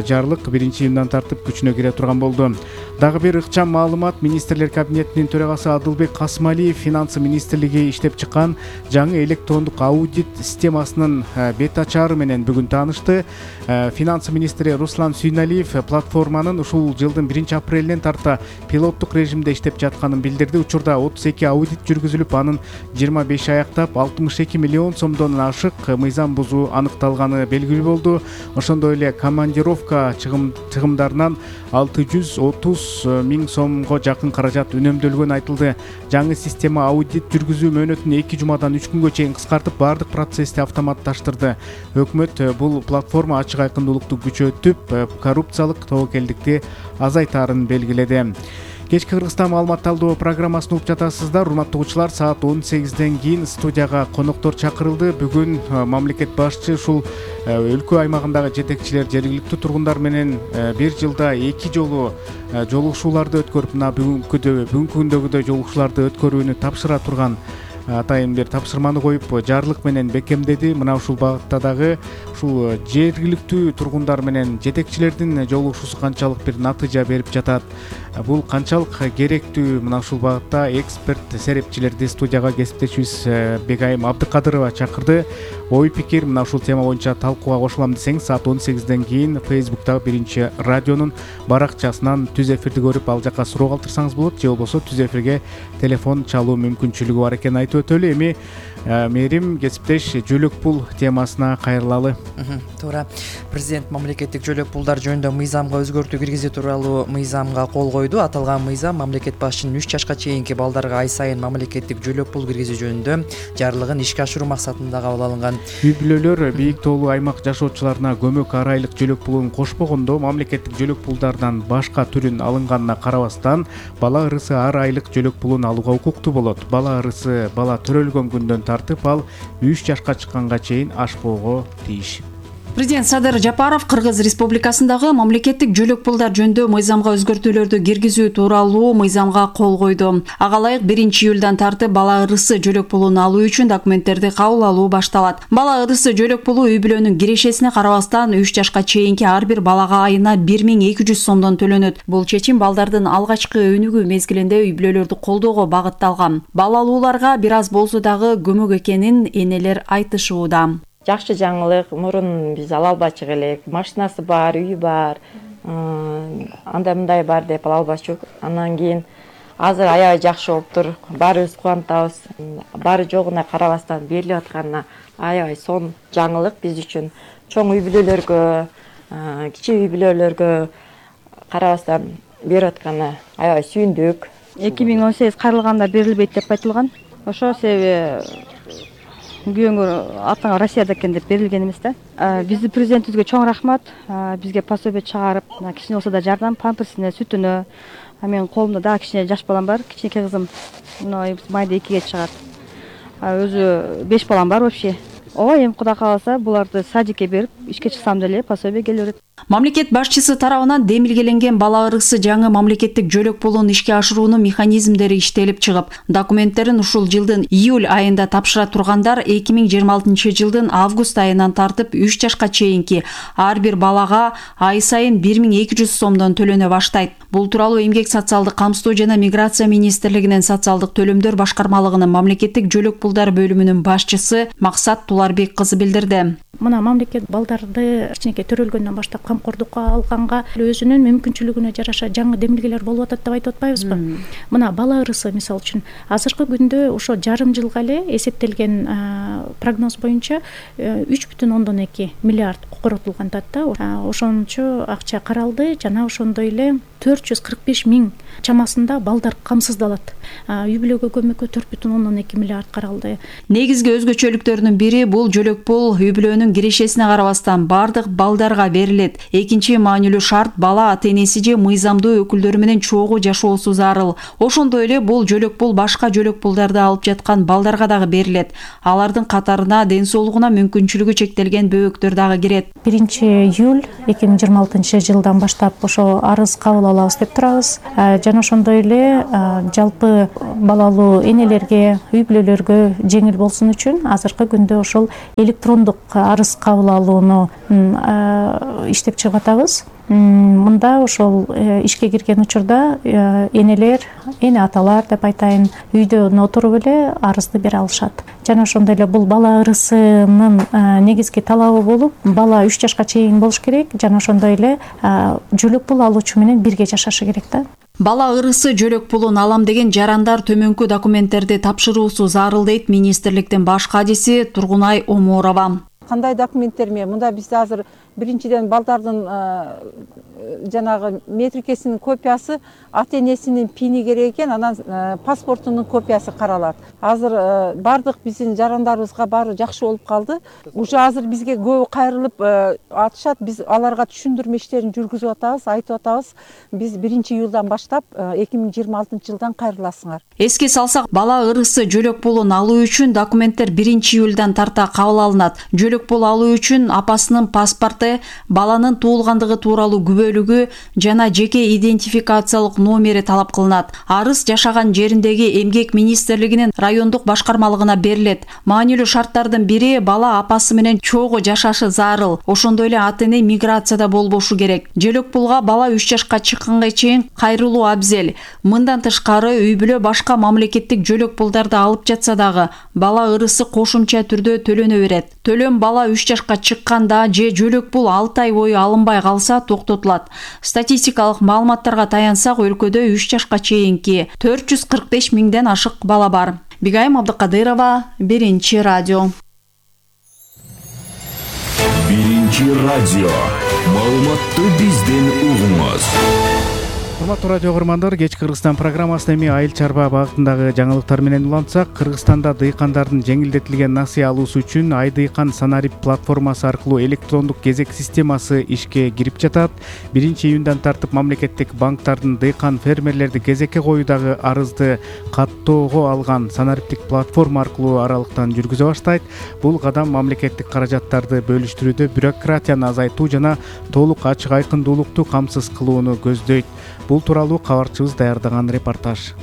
Жарлык биринчи июндан тартып күчүнө кире турган болду. Дагы бир ыкчам маалымат: министрлер кабинетинин төрагасы Адылбек Касымалиев Финансы министрлиги иштеп чыккан жаңы электрондук аудит системасынын бет ачары менен бүгүн таанышты. Финансы министри Руслан Сүйналиев платформанын ушул жылдын биринчи апрелинен тарта пилоттук режимде иштеп жатканын билдирди. Учурда отуз эки аудит жүргүзүлүп, анын жыйырма беши аяктап, алтымыш эки миллион сомдон ашык мыйзам бузуу аныкталганы белгилүү болду. Ошондой эле командировка чыгымдарынан алты жүз отуз миң сомго жакын каражат үнөмдөлгөнү айтылды. Жаңы система аудит жүргүзүү мөөнөтүн эки жумадан үч күнгө чейин кыскартып, баардык процессти автоматташтырды. Өкмөт бул платформа ачык айкындуулукту күчөтүп, коррупциялык тобокелдикти азайтаарын белгиледи. Кечки Кыргызстан маалымат талдоо программасын угуп жатасыздар. Урматтуу угуучулар, саат он сегизден кийин студияга коноктор чакырылды. Бүгүн мамлекет башчы ушул өлкө аймагындагы жетекчилер, жергиликтүү тургундар менен бир жылда эки жолу жолугушууларды өткөрүп, мына бүгүнкү бүгүнкү күндөгүдөй жолугушууларды өткөрүүнү тапшыра турган атайын бир тапшырманы коюп, жарлык менен бекемдеди. Мына ушул багытта дагы ушул жергиликтүү тургундар менен жетекчилердин жолугушуусу канчалык бир натыйжа берип жатат, бул канчалык керектүү, мына ушул багытта эксперт серепчилерди студияга кесиптешибиз Бегайым Абдыкадырова чакырды. Ой пикир мына ушул тема боюнча талкууга кошулам десеңиз, саат он сегизден кийин Facebook'тагы биринчи радионун баракчасынан түз эфирди көрүп, ал жака суроо калтырсаңыз болот, же болбосо түз эфирге телефон чалуу мүмкүнчүлүгү бар экенин айтып өтөлү. Эми Мерим кесиптеш жөлөк пул темасына кайрылалы. Туура. Президент мамлекеттик жөлөк пулдар жөнүндө мыйзамга өзгөртүү киргизүү тууралуу мыйзамга кол койду. Аталган мыйзам мамлекет башчынын үч жашка чейинки балдарга ай сайын мамлекеттик жөлөк пул киргизүү жөнүндө жарлыгын ишке ашыруу максатында кабыл алынган. Үй бүлөлөр бийик тоолуу аймак жашоочуларына көмөк ар айлык жөлөк пулун кошпогондо, мамлекеттик жөлөк пулдардан башка түрүн алынганына карабастан, бала ырысы ар айлык жөлөк пулун алууга укуктуу болот. Бала ырысы бала төрөлгөн күндөн тартып, ал үч жашка чыкканга чейин ашпоого тийиш. Президент Садыр Жапаров Кыргыз Республикасындагы мамлекеттик жөлөк пулдар жөнүндө мыйзамга өзгөртүүлөрдү киргизүү тууралуу мыйзамга кол койду. Ага ылайык биринчи июлдан тартып бала ырысы жөлөк пулун алуу үчүн документтерди кабыл алуу башталат. Бала ырысы жөлөк пулу үй бүлөнүн кирешесине карабастан үч жашка чейинки ар бир балага айына бир миң эки жүз сомдон төлөнөт. Бул чечим балдардын алгачкы өнүгүү мезгилинде үй бүлөлөрдү колдоого багытталган. Бала алууларга бир аз болсо дагы көмөк экенин энелер айтышууда. Жакшы жаңылык, мурун биз ала албачу элек, машинасы бар, үйү бар, андай мындай бар деп ала албачу. Андан кийин азыр аябай жакшы болуптур, баарыбыз кубанатабыз. Баары жогуна карабастан берилип атканына аябай сонун жаңылык биз үчүн. Чоң үй бүлөлөргө, кичи үй бүлөлөргө карабастан берип атканына аябай сүйүндүк. эки миң он сегиз кайрылганда берилбейт деп айтылган. Ошо себеби күйөөңөр атаңа Россияда экен деп берилген эмес да. Биздин президентибизге чоң рахмат. Бизге пособие чыгарып, кичине болсо да жардам, памперсине, сүтүнө. Менин колумда дагы кичине жаш балам бар, кичинекей кызым. Мына майда экиге чыгат. Өзү беш балам бар вообще. Ооба, эми Кудай кааласа буларды садикке берип, ишке чыксам деле пособие келе берет. Мамлекет башчысы тарабынан демилгеленген бала ырысы жаңы мамлекеттик жөлөк пулун ишке ашыруунун механизмдери иштелип чыгып, документтерин ушул жылдын июль айында тапшыра тургандар эки миң жыйырма алтынчы жылдын август айынан тартып үч жашка чейинки ар бир балага ай сайын бир миң эки жүз сомдон төлөнө баштайт. Бул тууралуу Эмгек социалдык камсыздоо жана миграция министрлигинин социалдык төлөмдөр башкармалыгынын мамлекеттик жөлөк пулдар бөлүмүнүн башчысы Максат Туларбек кызы билдирди. мына мамлекет балдарды кичинекей төрөлгөндөн баштап камкордукка алганга өзүнүн мүмкүнчүлүгүнө жараша жаңы демилгелер болуп атат деп айтып атпайбызбы? Мына бала ырысы мисалы үчүн азыркы күндө ошо жарым жылга эле эсептелген прогноз боюнча үч бүтүн ондон эки миллиард коротулган атат да. Ошончо акча каралды жана ошондой эле төрт жүз кырк беш миң чамасында балдар камсыздалат. Үй бүлөгө көмөккө төрт бүтүн ондон эки миллиард каралды. Негизги өзгөчөлүктөрүнүн бири бул жөлөк пул үй бүлөнүн кирешесине карабастан бардык балдарга берилет. Экинчи маанилүү шарт бала ата энеси же мыйзамдуу өкүлдөрү менен чогуу жашоосу зарыл. Ошондой эле бул жөлөк пул башка жөлөк пулдарды алып жаткан балдарга дагы берилет. Алардын катарына ден соолугуна мүмкүнчүлүгү чектелген бөбөктөр дагы кирет. биринчи июль эки миң жыйырма алтынчы жылдан баштап ошо арыз кабыл алабыз деп турабыз. Жана ошондой эле жалпы балалуу энелерге, үй бүлөлөргө жеңил болсун үчүн азыркы күндө ошол электрондук арыз кабыл алууну иштеп чыгып атабыз. Мында ошол ишке кирген учурда энелер, эне аталар деп айтайын, үйдөн отуруп эле арызды бере алышат. Жана ошондой эле бул бала ырысынын негизги талабы болуп, бала үч жашка чейин болуш керек, жана ошондой эле жөлөк пул алуучу менен бирге жашашы керек да. Бала ырысы жөлөк пулун алам деген жарандар төмөнкү документтерди тапшыруусу зарыл дейт министрликтин баш кадиси Тургунай Оморова. Кандай документтер менен? Мында бизде азыр биринчиден балдардын жанагы метрикесинин копиясы, ата энесинин пини керек экен, анан паспортунун копиясы каралат. Азыр бардык биздин жарандарыбызга баары жакшы болуп калды. Уже азыр бизге көбү кайрылып атышат. Биз аларга түшүндүрмө иштерин жүргүзүп атабыз, айтып атабыз. Биз биринчи июлдан баштап эки миң жыйырма алтынчы жылдан кайрыласыңар. Эске салсак, бала ырысы жөлөк пулун алуу үчүн документтер биринчи июлдан тарта кабыл алынат. Жөлөк пул алуу үчүн апасынын паспорты, баланын туулгандыгы тууралуу күбөлүгү жана жеке идентификациялык номери талап кылынат. Арыз жашаган жериндеги эмгек министрлигинин райондук башкармалыгына берилет. Маанилүү шарттардын бири бала апасы менен чогуу жашашы зарыл. Ошондой эле ата эне миграцияда болбошу керек. Жөлөк пулга бала үч жашка чыкканга чейин кайрылуу абзел. Мындан тышкары үй бүлө башка мамлекеттик жөлөк пулдарды алып жатса дагы бала ырысы кошумча түрдө төлөнө берет. Төлөм бала үч жашка чыкканда же жөлөк пул алты ай бою алынбай калса токтотулат. Статистикалык маалыматтарга таянсак, өлкөдө үч жашка чейинки төрт жүз кырк беш миңден ашык бала бар. Бигайым Абдыкадырова, Биринчи радио. Биринчи радио. Маалыматты бизден угуңуз. Урматтуу радио көрөрмандар, кеч Кыргызстан программасында эми айыл чарба багытындагы жаңылыктар менен улантсак, Кыргызстанда дыйкандардын жеңилдетилген насыя алуусу үчүн Ай дыйкан Санарип платформасы аркылуу электрондук кезек системасы ишке кирип жатат. биринчи июндан тартып мамлекеттик банктардын дыйкан фермерлерди кезекке коюудагы арызды каттоого алган санариптик платформа аркылуу аралыктан жүргүзө баштайт. Бул кадам мамлекеттик каражаттарды бөлүштүрүүдө бюрократияны азайтуу жана толук ачык айкындуулукту камсыз кылууну көздөйт. Бул тууралуу кабарчыбыз даярдаган репортаж.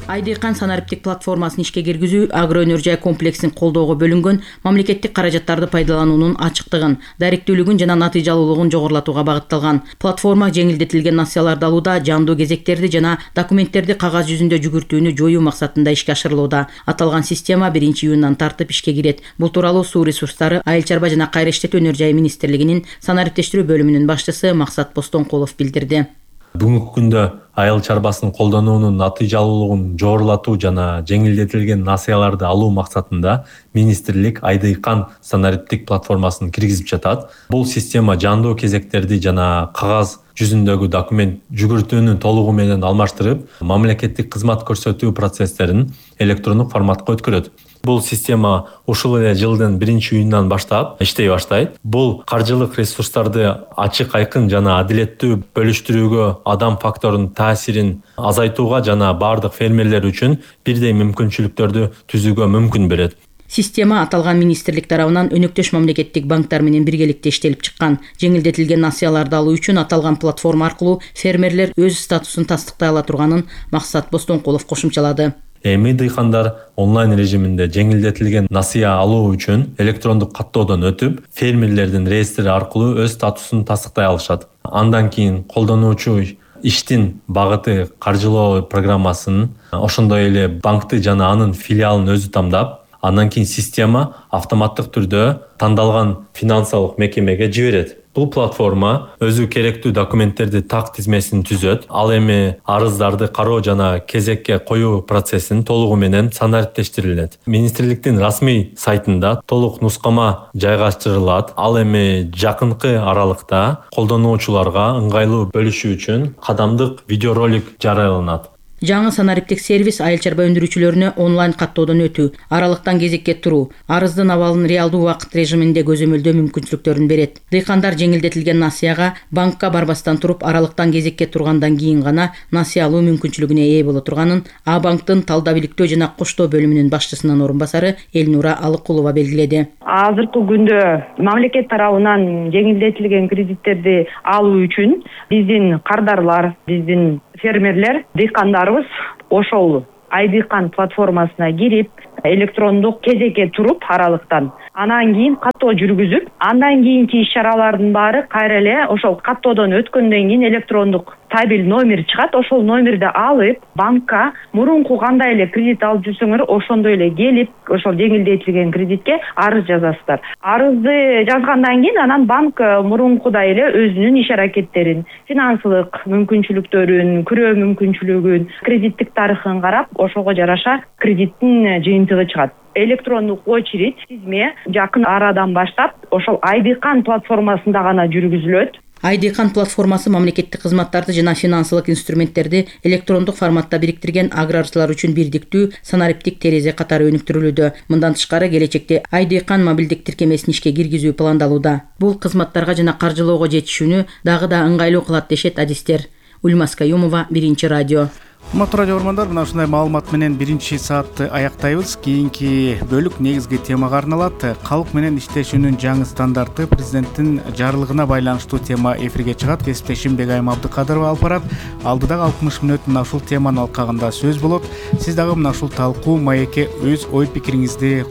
Ай дыйкан санариптик платформасын ишке киргизүү агро өнөр жай комплексин колдоого бөлүнгөн мамлекеттик каражаттарды пайдалануунун ачыктыгын, даректүүлүгүн жана натыйжалуулугун жогорулатууга багытталган. Платформа жеңилдетилген насыяларды алууда жандуу кезектерди жана документтерди кагаз жүзүндө жүгүртүүнү жоюу максатында ишке ашырылууда. Аталган система биринчи июндан тартып ишке кирет. Бул тууралуу Суу ресурстары, Айыл чарба жана кайра иштетүү өнөр жай министрлигинин санариптештирүү бөлүмүнүн башчысы Максат Постонкулов билдирди. Бүгүнкү күндө айыл чарбасын колдонуунун натыйжалуулугун жогорулатуу жана жеңилдетилген насыяларды алуу максатында министрлик Ай дыйкан санариптик платформасын киргизип жатат. Бул система жандуу кезектерди жана кагаз жүзүндөгү документ жүгүртүүнү толугу менен алмаштырып, мамлекеттик кызмат көрсөтүү процесстерин электрондук форматка өткөрөт. Бул система ушул эле жылдын биринчи июнунан баштап иштей баштайт. Бул каржылык ресурстарды ачык, айкын жана адилеттүү бөлүштүрүүгө, адам факторунун таасирин азайтууга жана бардык фермерлер үчүн бирдей мүмкүнчүлүктөрдү түзүүгө мүмкүн берет. Система аталган министрлик тарабынан өнөктөш мамлекеттик банктар менен биргеликте иштелип чыккан. Жеңилдетилген насыяларды алуу үчүн аталган платформа аркылуу фермерлер өз статусун тастыктай ала турганын Максат Постонкулов кошумчалады. Эми дыйкандар онлайн режиминде жеңилдетилген насыя алуу үчүн электрондук каттоодон өтүп, фермерлердин реестри аркылуу өз статусун тастыктай алышат. Андан кийин колдонуучу иштин багыты каржылоо программасын, ошондой эле банкты жана анын филиалын өзү тандап, Андан кийин система автоматтык түрдө тандалган финансылык мекемеге жиберет. Бул платформа өзү керектүү документтерди так тизмесин түзөт. Ал эми арыздарды кароо жана кезекке коюу процессин толугу менен санариптештирилет. Министрликтин расмий сайтында толук нускама жайгаштырылат. Ал эми жакынкы аралыкта колдонуучуларга ыңгайлуу бөлүшүү үчүн кадамдык видеоролик жарыяланат. Жаңы санариптик сервис айыл чарба өндүрүүчүлөрүнө онлайн каттоодон өтүү, аралыктан кезекке туруу, арыздын абалын реалдуу убакыт режиминде көзөмөлдөө мүмкүнчүлүктөрүн берет. Дыйкандар жеңилдетилген насыяга банкка барбастан туруп аралыктан кезекке тургандан кийин гана насыя алуу мүмкүнчүлүгүнө ээ боло турганын А банктын талдап иликтөө жана коштоо бөлүмүнүн башчысынын орун басары Элнура Алыкулова белгиледи. Азыркы күндө мамлекет тарабынан жеңилдетилген кредиттерди алуу үчүн биздин кардарлар, биздин фермерлер, дыйкандарыбыз ошол Айдыйкан платформасына кирип, электрондук кезекке туруп аралыктан, анан кийин каттоо жүргүзүп, андан кийинки иш-чаралардын баары кайра эле ошол каттоодон өткөндөн кийин электрондук табель номер чыгат, ошол номерди алып, банкка мурунку кандай эле кредит алып жүрсөңөр, ошондой эле келип, ошол жеңилдетилген кредитке арыз жазасыздар. Арызды жазгандан кийин анан банк мурункудай эле өзүнүн иш-аракеттерин, финансылык мүмкүнчүлүктөрүн, күрөө мүмкүнчүлүгүн, кредиттик тарыхын карап, ошого жараша кредиттин жыйынтыгы чыгат. Электрондук очередь тизме жакын арадан баштап ошол Айдыйкан платформасында гана жүргүзүлөт. Айдыйкан платформасы мамлекеттик кызматтарды жана финансылык инструменттерди электрондук форматта бириктирген аграрчылар үчүн бирдиктүү санариптик терезе катары өнүктүрүлүүдө. Мындан тышкары келечекте Айдыйкан мобилдик тиркемесин ишке киргизүү пландалууда. Бул кызматтарга жана каржылоого жетишүүнү дагы да ыңгайлуу кылат дешет адистер. Ульмас Каюмова, Биринчи радио. Урматтуу радио көрөрмандар, мына ушундай маалымат менен биринчи саатты аяктайбыз. Кийинки бөлүк негизги темага арналат. Калк менен иштешүүнүн жаңы стандарты президенттин жарлыгына байланыштуу тема эфирге чыгат. Кесиптешим Бегайым Абдыкадырова алып барат. Алдыдагы алтымыш мүнөт мына ушул теманын алкагында сөз болот. Сиз дагы мына ушул талкуу маекке өз ой пикириңизди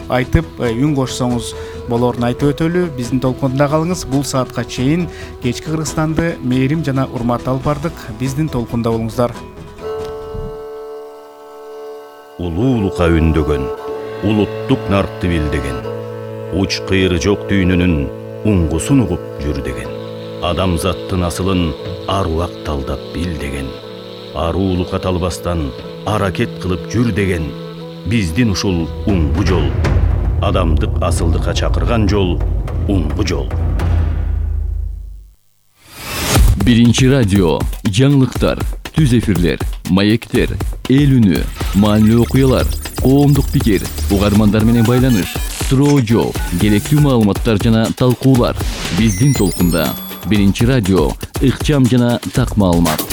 айтып, үн кошсоңуз болорун айтып өтөлү. Биздин толкунда калыңыз. Бул саатка чейин кечки Кыргызстанды мээрим жана урмат алып бардык. Биздин толкунда болуңуздар. Улуулукка үндөгөн, улуттук наркты билдеген, уч кыйры жок дүйнөнүн уңгусун угуп жүр деген. Адамзаттын асылын аруак талдап бил деген. Аруулукка талбастан аракет кылып жүр деген. Биздин ушул уңгу жол, адамдык асылдыкка чакырган жол, уңгу жол. Биринчи радио, жаңылыктар, түз эфирлер, маектер, эл үнү, маанилүү окуялар, коомдук пикир, угармандар менен байланыш, суроо жооп, керектүү маалыматтар жана талкуулар. Биздин толкунда Биринчи радио, ыкчам жана так маалымат.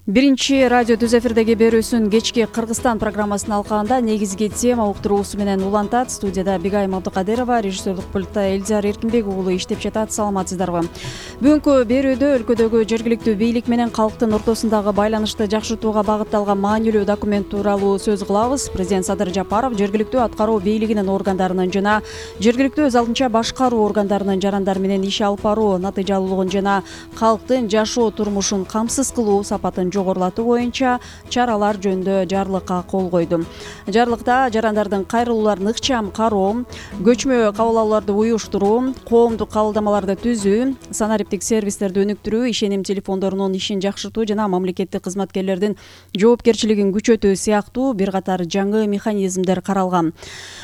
Биринчи радио түз эфирдеги берүүсүн кечки Кыргызстан программасынын алкагында негизги тема уктуруусу менен улантат. Студияда Бегайым Абдыкадырова, режиссерлук пультта Элзар Эркинбек уулу иштеп жатат. Саламатсыздарбы? Бүгүнкү берүүдө өлкөдөгү жергиликтүү бийлик менен калктын ортосундагы байланышты жакшыртууга багытталган маанилүү документ тууралуу сөз кылабыз. Президент Садыр Жапаров жергиликтүү аткаруу бийлигинин органдарынын жана жергиликтүү өз алдынча башкаруу органдарынын жарандары менен иш алып баруу натыйжалуулугун жана калктын жашоо турмушун камсыз кылуу сапатын жогорулатуу боюнча чаралар жөнүндө жарлыкка кол койду. Жарлыкта жарандардын кайрылууларын ыкчам кароо, көчмө кабыл алууларды уюштуруу, коомдук кабылдамаларды түзүү, санариптик сервистерди өнүктүрүү, ишеним телефондорунун ишин жакшыртуу жана мамлекеттик кызматкерлердин жоопкерчилигин күчөтүү сыяктуу бир катар жаңы механизмдер каралган.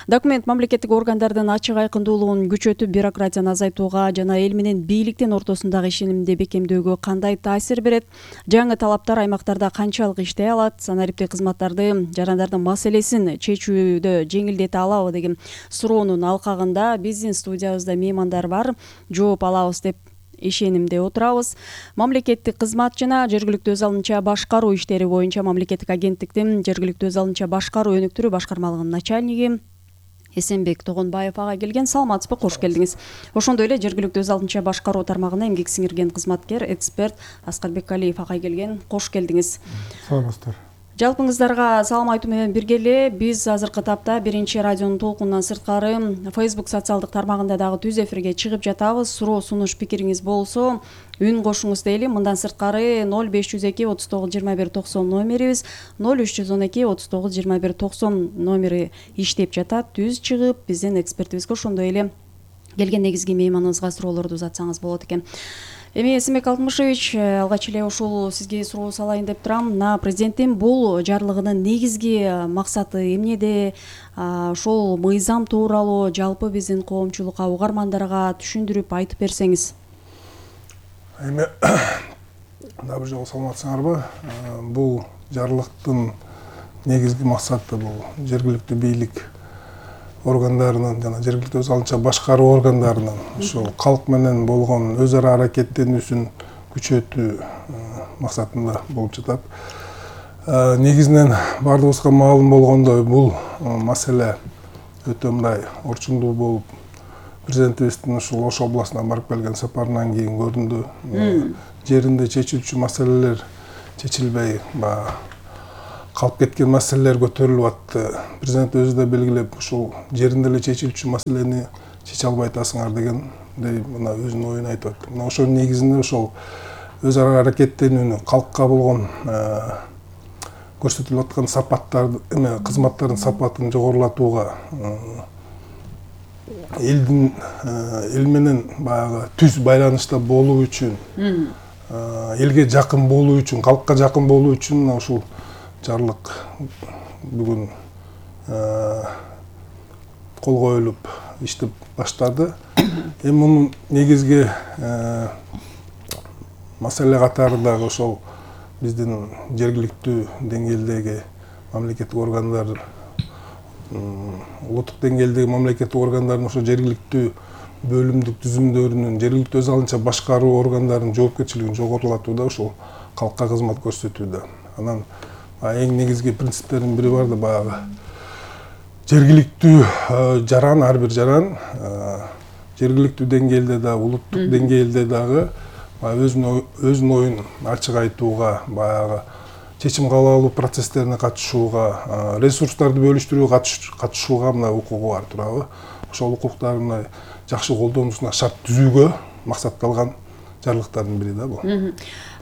Документ мамлекеттик органдардын ачык айкындуулугун күчөтүп, бюрократияны азайтууга жана эл менен бийликтин ортосундагы ишенимди бекемдөөгө кандай таасир берет? Жаңы талаптар аймактарда канчалык иштей алат? Санариптик кызматтарды жарандардын маселесин чечүүдө жеңилдете алабы деген суроонун алкагында биздин студиябызда меймандар бар. Жооп алабыз деп ишенимде отурабыз. Мамлекеттик кызмат жана жергиликтүү өз алдынча башкаруу иштери боюнча мамлекеттик агенттиктин жергиликтүү өз алдынча башкаруу өнүктүрүү башкармалыгынын начальниги Эсенбек Тогонбаев ага келген. Саламатсызбы, кош келдиңиз. Ошондой эле жергиликтүү өз алдынча башкаруу тармагына эмгек сиңирген кызматкер, эксперт Аскарбек Алиев ага келген. Кош келдиңиз. Саламатсыздар. Жалпыңыздарга салам айтуу менен бирге эле биз азыркы тапта биринчи радионун толкунунан сырткары Facebook социалдык тармагында дагы түз эфирге чыгып жатабыз. Суроо сунуш пикириңиз болсо үн кошуңуз дейли. Мындан сырткары ноль беш жүз эки отуз тогуз жыйырма бир токсон номерибиз, ноль үч жүз он эки отуз тогуз жыйырма бир токсон номери иштеп жатат. Түз чыгып биздин экспертибизге ошондой эле келген негизги мейманыбызга суроолорду узатсаңыз болот экен. Эми Эсенбек Алтымышевич, алгач эле ушул сизге суроо салайын деп турам. Мына президенттин бул жарлыгынын негизги максаты эмнеде? Ошол мыйзам тууралуу жалпы биздин коомчулукка, угармандарга түшүндүрүп айтып берсеңиз. Эми дагы жолу саламатсыңарбы? Бул жарлыктын негизги максаты бул жергиликтүү бийлик органдарынын жана жергиликтүү өз алынча башкаруу органдарынын ушул калк менен болгон өз ара аракеттенүүсүн күчөтүү максатында болуп жатат. Негизинен баардыгыбызга маалым болгондой бул маселе өтө мындай орчундуу болуп, президентибиздин ушул Ош областына барып келген сапарынан кийин көрүндү. Жеринде чечилчү маселелер чечилбей, баягы калып кеткен маселелер көтөрүлүп атты. Президент өзү да белгилеп, ушул жеринде эле чечилчү маселени чече албай атасыңар дегендей мына өзүнүн оюн айтып атты. Мына ошонун негизинде ошол өз ара аракеттенүүнү, калкка болгон көрсөтүлүп аткан сапаттарды, эме кызматтардын сапатын жогорулатууга, элдин эл менен баягы түз байланышта болуу үчүн, элге жакын болуу үчүн, калкка жакын болуу үчүн ушул жарлык бүгүн кол коюлуп иштеп баштады. Эми мунун негизги маселе катары дагы ошол биздин жергиликтүү деңгээлдеги мамлекеттик органдар, улуттук деңгээлдеги мамлекеттик органдардын ошо жергиликтүү бөлүмдүк түзүмдөрүнүн, жергиликтүү өз алынча башкаруу органдарынын жоопкерчилигин жогорулатууда, ошол калкка кызмат көрсөтүүдө. Анан эң негизги принциптердин бири бар да, баягы жергиликтүү жаран, ар бир жаран жергиликтүү деңгээлде да, улуттук деңгээлде дагы өзүнүн оюн ачык айтууга, баягы чечим кабыл алуу процесстерине катышууга, ресурстарды бөлүштүрүүгө катышууга мына укугу бар турабы. Ошол укуктарын жакшы колдонуусуна шарт түзүүгө максатталган жарлыктардын бири да бул.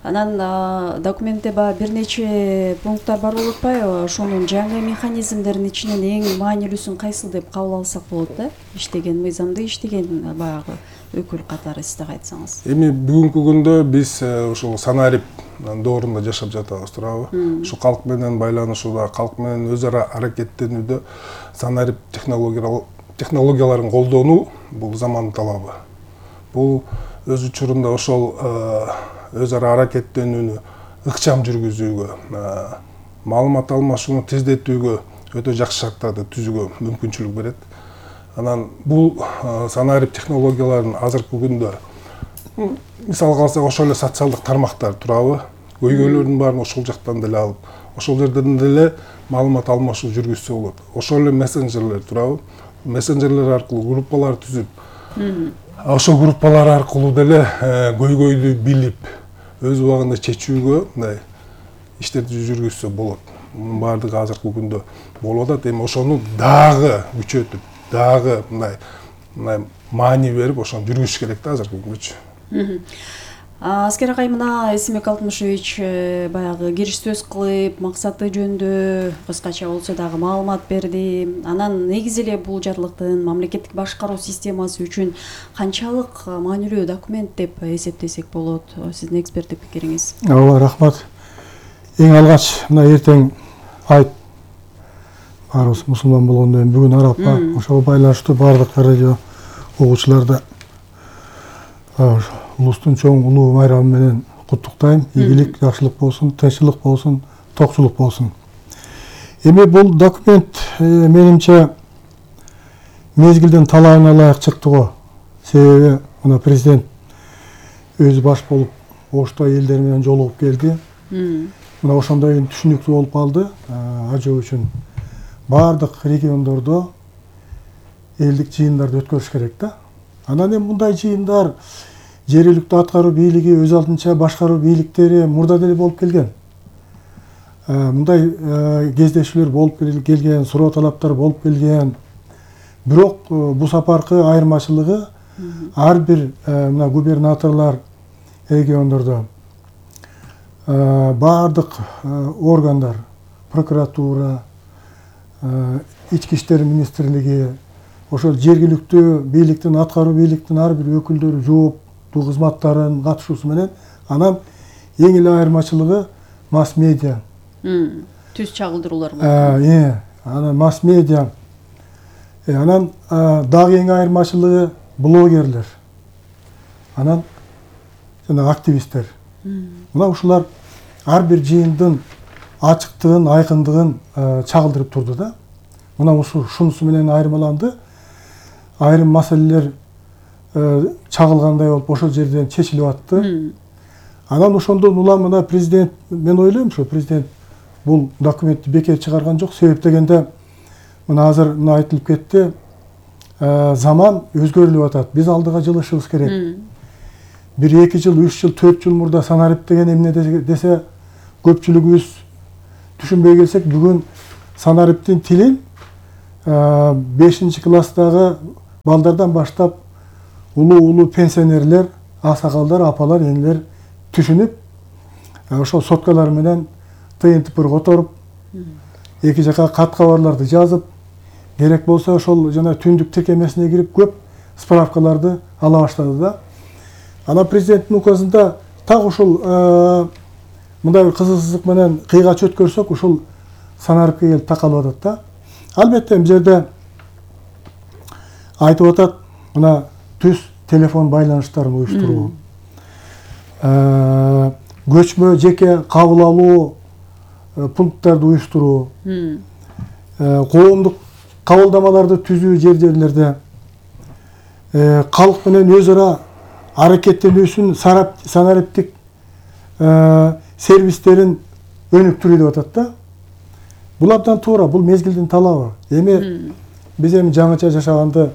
Анан документте баягы бир нече пункттар бар болуп атпайбы? Ошонун жаңы механизмдердин ичинен эң маанилүүсүн кайсыл деп кабыл алсак болот да? Иштеген мыйзамды иштеген баягы өкүл катары сиз дагы айтсаңыз. Эми бүгүнкү күндө биз ушул санарип доорунда жашап жатабыз турабы? Ушу калк менен байланышууда, калк менен өз ара аракеттенүүдө санарип технологияларын колдонуу бул замандын талабы. Бул өз учурунда ошол өз ара аракеттенүүнү ыкчам жүргүзүүгө, маалымат алмашууну тездетүүгө өтө жакшы шарттарды түзүүгө мүмкүнчүлүк берет. Анан бул санарип технологияларын азыркы күндө мисалга алсак ошол эле социалдык тармактар турабы? Көйгөйлөрдүн баарын ошол жактан деле алып, ошол жерден деле маалымат алмашуу жүргүзсө болот. Ошол эле мессенджерлер турабы? Мессенджерлер аркылуу группалар түзүп, ошол группалар аркылуу деле көйгөйдү билип, өз убагында чечүүгө мындай иштерди жүргүзсө болот. Мунун баардыгы азыркы күндө болуп атат. Эми ошону дагы күчөтүп, дагы мындай мындай маани берип, ошону жүргүзүш керек да азыркы күндө. Аскер агай, мына Эсенбек Алтымышевич баягы кириш сөз кылып, максаты жөнүндө кыскача болсо дагы маалымат берди. Анан негизи эле бул жарлыктын мамлекеттик башкаруу системасы үчүн канчалык маанилүү документ деп эсептесек болот? Сиздин эксперттик пикириңиз. Ооба, рахмат. Эң алгач мына эртең айт баарыбыз мусулман болгондон кийин бүгүн арапка ошого байланыштуу баардык радио угуучуларды улустун чоң улуу майрамы менен куттуктайм. Ийгилик, жакшылык болсун, тынччылык болсун, токчулук болсун. Эми бул документ менимче мезгилдин талабына ылайык чыкты го. Себеби мына президент өзү баш болуп Ошто элдер менен жолугуп келди. Мына ошондой түшүнүктүү болуп калды. Ажоо үчүн баардык региондордо элдик жыйындарды өткөрүш керек да. Анан эми мындай жыйындар жергиликтүү аткаруу бийлиги, өз алдынча башкаруу бийликтери мурда деле болуп келген. мындай кездешүүлөр болуп келген, суроо талаптар болуп келген. Бирок бул сапаркы айырмачылыгы ар бир мына губернаторлор региондордо баардык органдар, прокуратура, ички иштер министрлиги, ошол жергиликтүү бийликтин, аткаруу бийликтин ар бир өкүлдөрү жооптуу кызматтарын катышуусу менен, анан эң эле айырмачылыгы масс медиа. Түз чагылдыруулар болду. Э, анан масс медиа. Анан дагы эң айырмачылыгы блогерлер. Анан жана активисттер. Мына ушулар ар бир жыйындын ачыктыгын, айкындыгын чагылдырып турду да. Мына ушу шунусу менен айырмаланды. Айрым маселелер чагылгандай болуп ошол жерден чечилип атты. Анан ошондон улам мына президент, мен ойлойм ушу президент бул документти бекер чыгарган жок. Себеп дегенде мына азыр мына айтылып кетти. Заман өзгөрүлүп атат. Биз алдыга жылышыбыз керек. Бир эки жыл, үч жыл, төрт жыл мурда санарип деген эмне десе көпчүлүгүбүз түшүнбөй келсек, бүгүн санариптин тилин бешинчи класстагы балдардан баштап улуу-улуу пенсионерлер, аксакалдар, апалар, энелер түшүнүп, ошол соткалар менен тыйынтыпыр которуп, эки жака кат кабарларды жазып, керек болсо ошол жана түндүк тиркемесине кирип көп справкаларды ала баштады да. Ана президенттин указында так ушул мындай бир кызыксыздык менен кыйгач өткөрсөк, ушул санарипке келип такалып атат да. Албетте бул жерде айтып атат, мына түз телефон байланыштарын уюштуруу, көчмө жеке кабыл алуу пункттарды уюштуруу, коомдук кабылдамаларды түзүү жер-жерлерде, калк менен өз ара аракеттенүүсүн санариптик сервистерин өнүктүрүү деп атат да. Бул абдан туура, бул мезгилдин талабы. Эми биз эми жаңыча жашаганды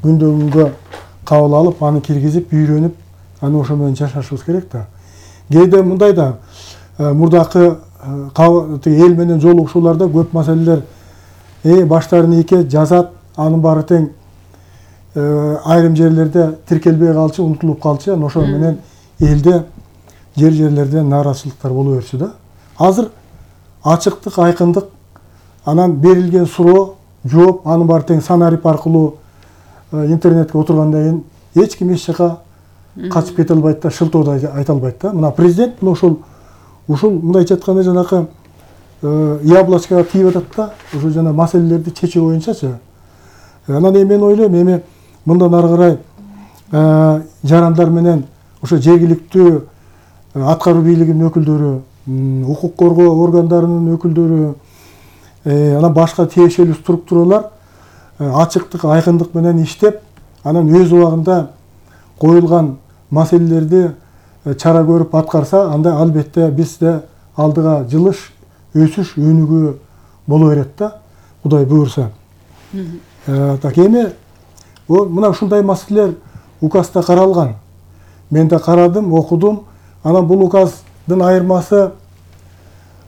күндөн күнгө кабыл алып, аны киргизип, үйрөнүп, аны ошо менен жашашыбыз керек да. Кээде мындай да, мурдакы эл менен жолугушууларда көп маселелер баштарын ийке жазат, анын баары тең айрым жерлерде тиркелбей калчу, унутулуп калчу, анан ошо менен элде жер-жерлерде нааразычылыктар боло берчү да. Азыр ачыктык, айкындык, анан берилген суроо, жооп, анын баары тең санарип аркылуу интернетке отургандан кийин эч ким эч жака качып кете албайт да, шылтоодо айта албайт да. Мына президент мына ушул ушул мындайча айтканда жанакы яблочкага тийип атат да, ушул жана маселелерди чечүү боюнчачы. Анан эми мен ойлойм, эми мындан ары карай жарандар менен ошо жергиликтүү аткаруу бийлигинин өкүлдөрү, укук коргоо органдарынын өкүлдөрү, анан башка тиешелүү структуралар ачыктык, айкындык менен иштеп, анан өз убагында коюлган маселелерди чара көрүп аткарса, анда албетте бизде алдыга жылыш, өсүш, өнүгүү боло берет да, Кудай буйрса. Так эми мына ушундай маселелер указда каралган. Мен да карадым, окудум. Анан бул указдын айырмасы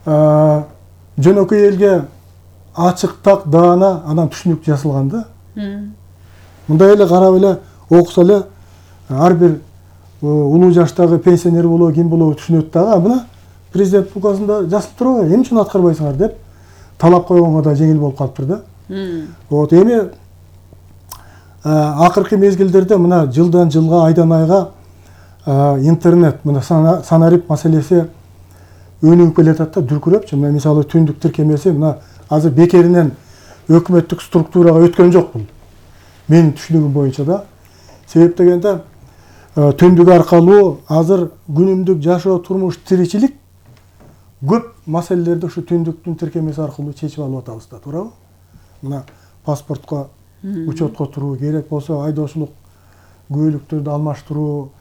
жөнөкөй элге ачык, так, даана, анан түшүнүк жазылган да. Мындай эле карап эле окуса эле ар бир улуу жаштагы пенсионер болобу, ким болобу түшүнөт дагы. Мына президент указында жазылып турабы, эмне үчүн аткарбайсыңар деп талап койгонго да жеңил болуп калыптыр да. Вот эми акыркы мезгилдерде мына жылдан жылга, айдан айга интернет, мына санарип маселеси өнүгүп келатат да, дүркүрөпчү. Мына мисалы түндүк тиркемеси мына азыр бекеринен өкмөттүк структурага өткөн жок бул. Менин түшүнүгүм боюнча да. Себеп дегенде түндүк аркылуу азыр күнүмдүк жашоо, турмуш, тиричилик көп маселелерди ушу түндүктүн тиркемеси аркылуу чечип алып атабыз да, туурабы? Мына паспортко, учетко туруу, керек болсо айдоочулук күбөлүктөрдү алмаштыруу,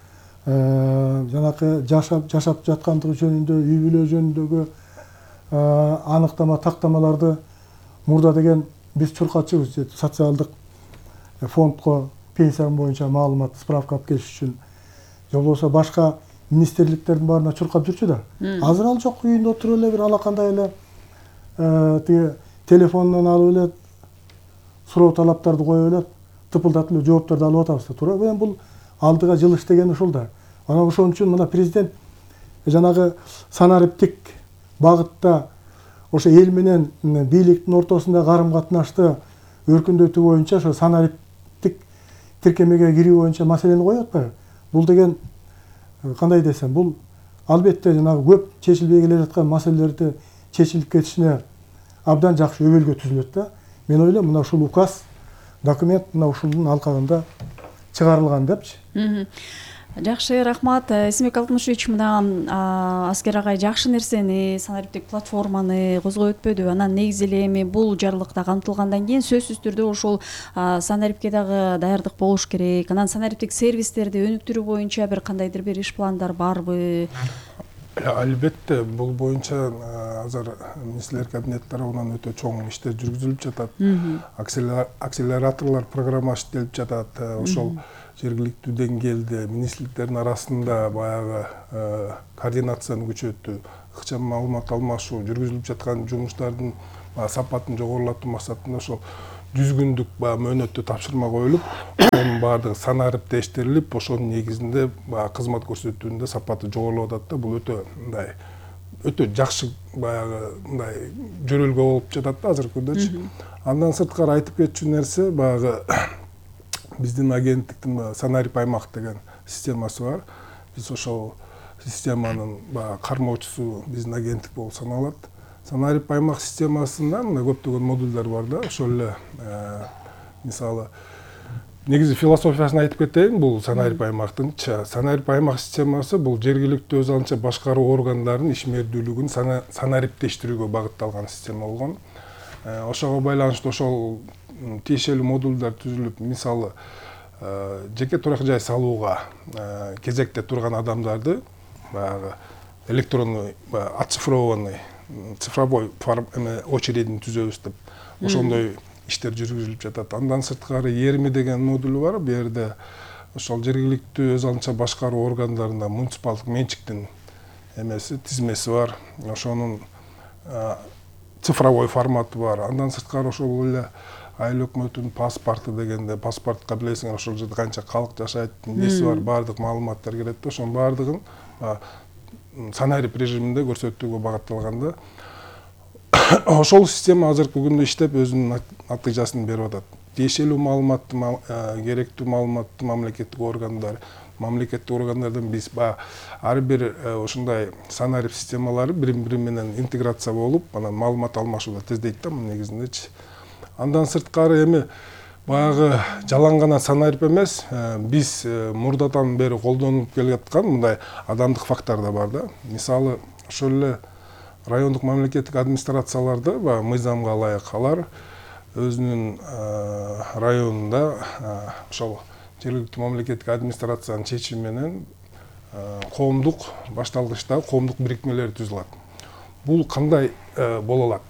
жанакы жашап жашап жаткандыгы жөнүндө, үй бүлө жөнүндөгү аныктама, тактамаларды мурда деген биз чуркатчыбыз, социалдык фондко пенсия боюнча маалымат, справка алып келиш үчүн, же болбосо башка министрликтердин баарына чуркап жүрчү да. Азыр ал жок, үйүндө отуруп эле бир алакандай эле тиги телефонунан алып эле суроо талаптарды коюп эле тыпылдатып эле жооптарды алып атабыз да. Туура. Эми бул алдыга жылыш деген ушул да. Анан ошон үчүн мына президент жанагы санариптик багытта ошо эл менен бийликтин ортосунда карым-катнашты өркүндөтүү боюнча ошо санариптик тиркемеге кирүү боюнча маселени коюп атпайбы? Бул деген кандай десем, бул албетте жанагы көп чечилбей келе жаткан маселелерди чечилип кетишине абдан жакшы өбөлгө түзүлөт да. Мен ойлойм, мына ушул указ, документ мына ушунун алкагында чыгарылган депчи. Жакшы, рахмат. Эсенбек Алтымышевич, мына Аскер агай жакшы нерсени, санариптик платформаны козгоп өтпөдү. Анан негизи эле эми бул жарлыкта камтылгандан кийин сөзсүз түрдө ошол санарипке дагы даярдык болуш керек. Анан санариптик сервистерди өнүктүрүү боюнча бир кандайдыр бир иш пландар барбы? Албетте, бул боюнча азыр министрлер кабинети тарабынан өтө чоң иштер жүргүзүлүп жатат. Акселераторлор программасы иштелип жатат. Ошол жергиликтүү деңгээлде министрликтердин арасында баягы координацияны күчөтүү, ыкчам маалымат алмашуу, жүргүзүлүп жаткан жумуштардын сапатын жогорулатуу максатында ошол жүз күндүк мөөнөттө тапшырма коюлуп, онун баардыгы санариптештирилип, ошонун негизинде кызмат көрсөтүүнүн сапаты жогорулуп атат да. Бул өтө мындай өтө жакшы баягы мындай жөрөлгө болуп жатат да азыркы күндөчү. Андан сырткары айтып кетчү нерсе баягы биздин агенттиктин санарип аймак деген системасы бар. Биз ошол системанын кармоочусу биздин агенттик болуп саналат. Санарип аймак системасында мына көптөгөн модулдар бар да. Ошол эле мисалы негизи философиясын айтып кетейин. Бул санарип аймактын санарип аймак системасы бул жергиликтүү өз алынча башкаруу органдарынын ишмердүүлүгүн санариптештирүүгө багытталган система болгон. Ошого байланыштуу ошол тиешелүү модулдар түзүлүп, мисалы жеке турак жай салууга кезекте турган адамдарды баягы электронный оцифрованный цифровой очередин түзөбүз деп ошондой иштер жүргүзүлүп жатат. Андан сырткары Ерми деген модулу бар. Бу жерде ошол жергиликтүү өз алынча башкаруу органдарында муниципалдык менчиктин эмеси, тизмеси бар. Ошонун цифровой форматы бар. Андан сырткары ошол эле айыл өкмөтүнүн паспорту дегенде, паспортко билесиңер ошол жерде канча калк жашайт, эмеси бар, баардык маалыматтар келет да. Ошонун баардыгын санарип режиминде көрсөтүүгө багытталган да. Ошол система азыркы күндө иштеп өзүнүн натыйжасын берип атат. Тиешелүү маалыматты, керектүү маалыматты мамлекеттик органдар, мамлекеттик органдардан биз ар бир ушундай санарип системалары бири-бири менен интеграция болуп, анан маалымат алмашууга тездейт да негизиндечи. Андан сырткары эми баягы жалаң гана санарип эмес, биз мурдадан бери колдонуп келаткан мындай адамдык фактор да бар да. Мисалы, ошол эле райондук мамлекеттик администрацияларды мыйзамга ылайык алар өзүнүн районунда ошол жергиликтүү мамлекеттик администрациянын чечими менен коомдук башталгычта коомдук бирикмелер түзүлөт. Бул кандай боло алат?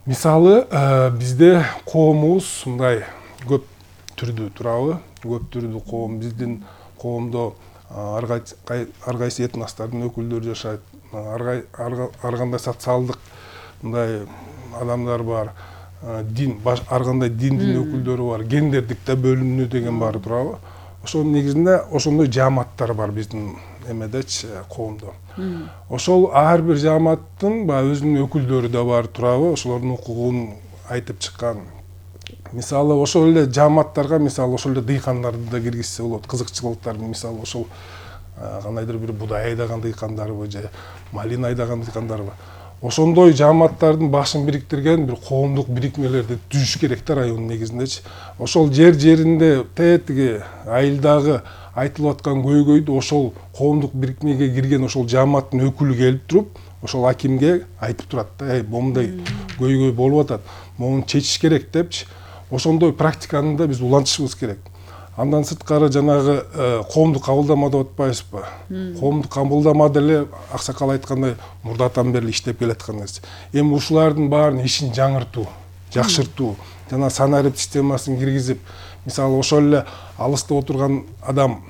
Мисалы, бизде коомубуз мындай көп түрдүү турабы, көп түрдүү коом, биздин коомдо ар кайсы этностордун өкүлдөрү жашайт, ар кандай социалдык мындай адамдар бар, дин, ар кандай диндин өкүлдөрү бар, гендердик да бөлүнүү деген баары турабы. Ошонун негизинде ошондой жааматтар бар биздин эмедечи, коомдо. Ошол ар бир жааматтын өзүнүн өкүлдөрү да бар турабы, ошолордун укугун айтып чыккан. Мисалы, ошол эле жааматтарга, мисалы, ошол эле дыйкандарды да киргизсе болот, кызыкчылыктар, мисалы, ошол кандайдыр бир будай айдаган дыйкандарбы же малина айдаган дыйкандарбы. Ошондой жааматтардын башын бириктирген бир коомдук бирикмелерди түзүш керек да райондун негизиндечи. Ошол жер-жеринде тетиги айылдагы айтылып аткан көйгөйдү ошол коомдук бирикмеге кирген ошол жааматтын өкүлү келип туруп, ошол акимге айтып турат да, "Эй, момундай көйгөй болуп атат, муну чечиш керек" депчи. Ошондой практиканы да биз улантышыбыз керек. Андан сырткары жанагы коомдук кабылдама деп атпайбызбы? Коомдук кабылдама деле аксакал айткандай мурдатан бери иштеп келаткан нерсе. Эми ушулардын баарынын ишин жаңыртуу, жакшыртуу, жана санарип системасын киргизип, мисалы ошол эле алыста отурган адам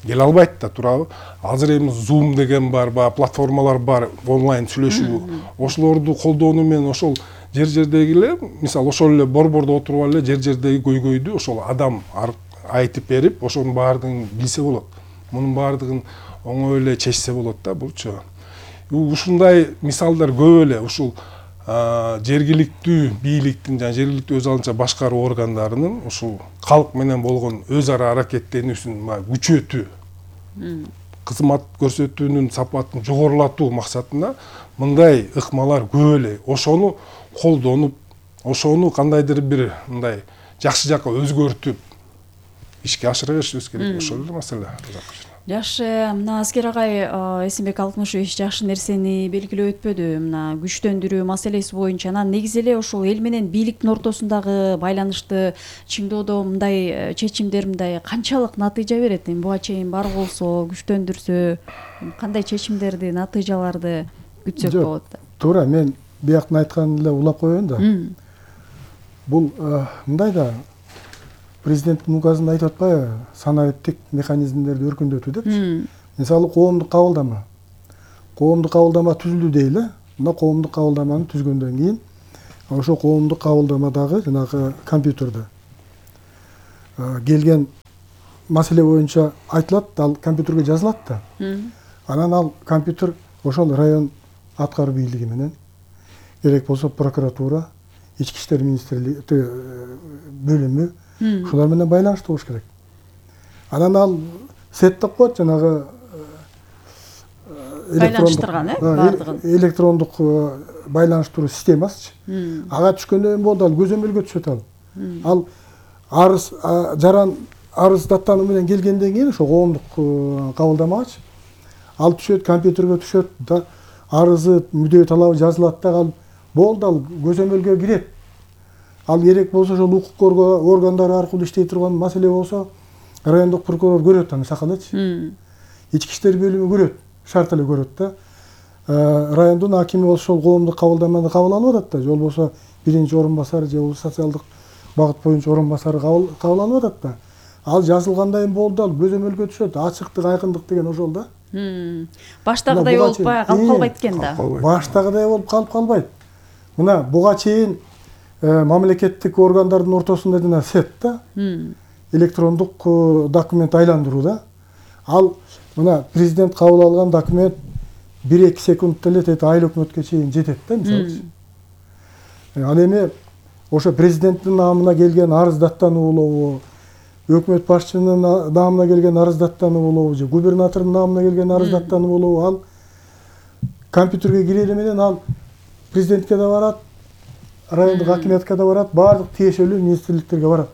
келе албайт да, туурабы? Азыр эми Zoom деген бар, баягы платформалар бар, онлайн сүйлөшүү. Ошолорду колдонуу менен ошол жер жердеги эле, мисалы ошол эле борбордо отуруп эле жер жердеги көйгөйдү ошол адам айтып берип, ошонун баардыгын билсе болот. Мунун баардыгын оңой эле чечсе болот да, булчу. Ушундай мисалдар көп эле ушул жергиликтүү бийликтин жана жергиликтүү өз алынча башкаруу органдарынын ушул калк менен болгон өз ара аракеттенүүсүн күчөтүү, кызмат көрсөтүүнүн сапатын жогорулатуу максатында мындай ыкмалар көп эле. Ошону колдонуп, ошону кандайдыр бир мындай жакшы жакка өзгөртүп ишке ашыра беришибиз керек. Ошол эле маселе. Жакшы, мына Аскер агай Эсенбек Алтымышевич жакшы нерсени белгилеп өтпөдү. Мына күчтөндүрүү маселеси боюнча анан негизи эле ошол эл менен бийликтин ортосундагы байланышты чыңдоодо мындай чечимдер мындай канчалык натыйжа берет? Эми буга чейин бар болсо, күчтөндүрсө кандай чечимдерди, натыйжаларды күтсөк болот? Туура, мен бияктын айтканын эле улап коеюн да. Бул мындай да президенттин указында айтып атпайбы, санариптик механизмдерди өркүндөтүү депчи. Мисалы коомдук кабылдама. Коомдук кабылдама түзүлдү дейли. Мына коомдук кабылдаманы түзгөндөн кийин ошо коомдук кабылдамадагы жанагы компьютерде келген маселе боюнча айтылат, ал компьютерге жазылат да. Анан ал компьютер ошол район аткаруу бийлиги менен, керек болсо прокуратура, ички иштер министрлиги бөлүмү ушулар менен байланыштуу болуш керек. Анан ал сет деп коет, жанагы байланыштырган, э, бардыгын. Электрондук байланыштыруу системасычы. Ага түшкөндөн болду, ал көзөмөлгө түшөт ал. Ал арыз жаран арыз даттануу менен келгенден кийин ошо коомдук кабылдамагачы ал түшөт, компьютерге түшөт да, арызы, мүдөө талабы жазылат да, ал болду, ал көзөмөлгө кирет. Ал керек болсо ошол укук органдары аркылуу иштей турган маселе болсо, райондук прокурор көрөт аны сак элечи. Ички иштер бөлүмү көрөт, шарт эле көрөт да. Райондун акими болсо ошол коомдук кабылдаманы кабыл алып атат да, же болбосо биринчи орун басары же болбосо социалдык багыт боюнча орун басары кабыл алып атат да. Ал жазылгандай болду, ал көзөмөлгө түшөт, ачыктык, айкындык деген ошол да. Баштагыдай болуп калып калбайт экен да. Баштагыдай болуп калып калбайт. Мына буга чейин мамлекеттик органдардын ортосунда жана сет да, электрондук документ айландыруу да. Ал мына президент кабыл алган документ бир-эки секундта эле тет айыл өкмөткө чейин жетет да, мисалы. Ал эми ошо президенттин намына келген арыз даттануу болобу, өкмөт башчынын намына келген арыз даттануу болобу, же губернатордун намына келген арыз даттануу болобу, ал компьютерге кирели менен ал президентке да барат, райондук акимиятка да барат, баардык тиешелүү министрликтерге барат.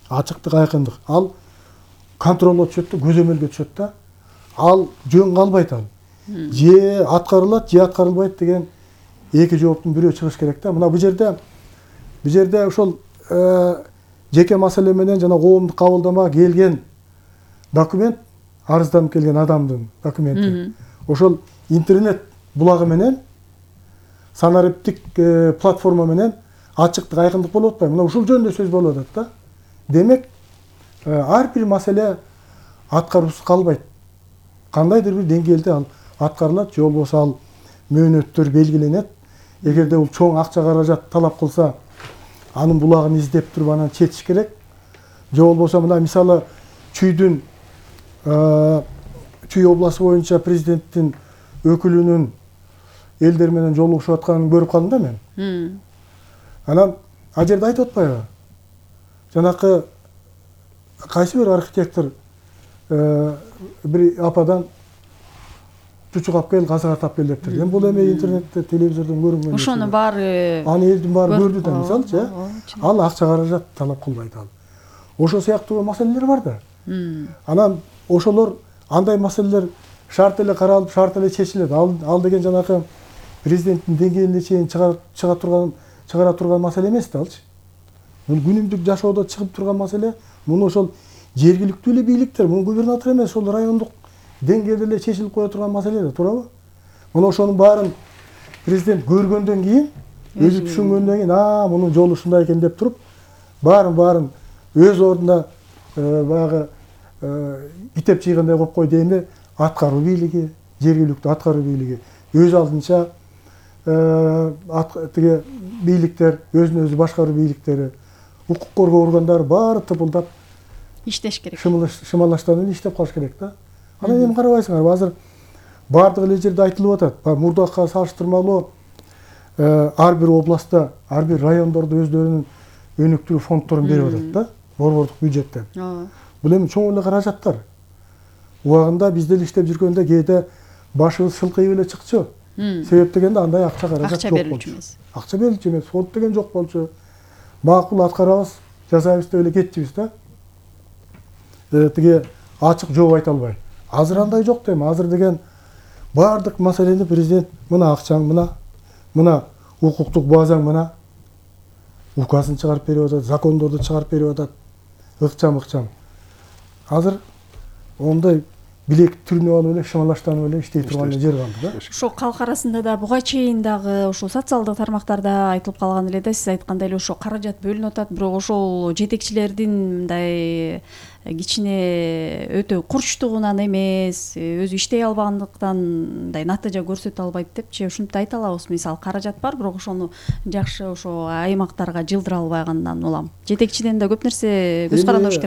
Ачыктык, айкындык. Ал контролго түшөт да, көзөмөлгө түшөт да. Ал жөн калбайт ал. Же аткарылат, же аткарылбайт деген эки жооптун бирөө чыгыш керек да. Мына бул жерде бул жерде ошол жеке маселе менен жана коомдук кабылдамага келген документ, арызданып келген адамдын документи. Ошол интернет булагы менен, санариптик платформа менен ачыктык, айкындык болуп атпайбы? Мына ушул жөнүндө сөз болуп атат да. Демек, ар бир маселе аткаруусуз калбайт. Кандайдыр бир деңгээлде ал аткарылат, же болбосо ал мөөнөттөр белгиленет. Эгерде бул чоң акча каражат талап кылса, анын булагын издеп туруп анан четиш керек. Же болбосо мына мисалы Чүйдүн Чүй областы боюнча президенттин өкүлүнүн элдер менен жолугушуп атканын көрүп калдым да мен. Анан ал жерде айтып атпайбы? Жанакы кайсы бир архитектор бир ападан чучук алып кел, казык тап кел дептир. Эми бул эми интернетте, телевизордон көрүнгөн. Ошону баары аны элдин баары көрдү да, мисалчы. Ал акча каражат талап кылбайт ал. Ошол сыяктуу маселелер бар да. Анан ошолор андай маселелер шарт эле каралып, шарт эле чечилет. Ал ал деген жанакы президенттин деңгээлине чейин чыга турган, чыгара турган маселе эмес да алчы. Бул күнүмдүк жашоодо чыгып турган маселе. Муну ошол жергиликтүү эле бийликтер, муну губернатор эмес, ошол райондук деңгээлде эле чечилип кое турган маселе да, туурабы? Муну ошонун баарын президент көргөндөн кийин, өзү түшүнгөндөн кийин, а, мунун жолу ушундай экен деп туруп, баарын баарын өз ордуна баягы китеп чыйгандай кылып кой дегенде аткаруу бийлиги, жергиликтүү аткаруу бийлиги өз алдынча тиги бийликтер, өзүн өзү башкаруу бийликтери, укук коргоо органдары баары тыпылдап иштеш керек. Шымалаштан эле иштеп калыш керек да. Анан эми карабайсыңар, азыр баардык эле жерде айтылып атат. Мурдакка салыштырмалуу ар бир областта, ар бир райондордо өздөрүнүн өнүктүрүү фонддорун берип атат да, борбордук бюджеттен. Бул эми чоң эле каражаттар. Убагында биз деле иштеп жүргөндө кээде башыбыз шылкыйып эле чыкчу. Себеп дегенде андай акча каражат жок болчу. Акча берилчү эмес, фонд деген жок болчу. Макул аткарабыз, жасайбыз деп эле кетчүбүз да. Тиги ачык жооп айта албай. Азыр андай жок дейм. Азыр деген баардык маселени президент мына акчаң мына, мына укуктук базаң мына, указын чыгарып берип атат, закондорду чыгарып берип атат. Ыкчам-ыкчам. Азыр ондай билек түрүнүп алып эле шымалаштанып эле иштей турган жер калды да. Ошо калк арасында да буга чейин дагы ошо социалдык тармактарда айтылып калган эле да, сиз айткандай эле ошо каражат бөлүнүп атат, бирок ошол жетекчилердин мындай кичине өтө курчтугунан эмес, өзү иштей албагандыктан мындай натыйжа көрсөтө албайт депчи ушинтип айта алабыз. Мисалы каражат бар, бирок ошону жакшы ошо аймактарга жылдыра албагандан улам жетекчиден да көп нерсе көз карандырыш керек.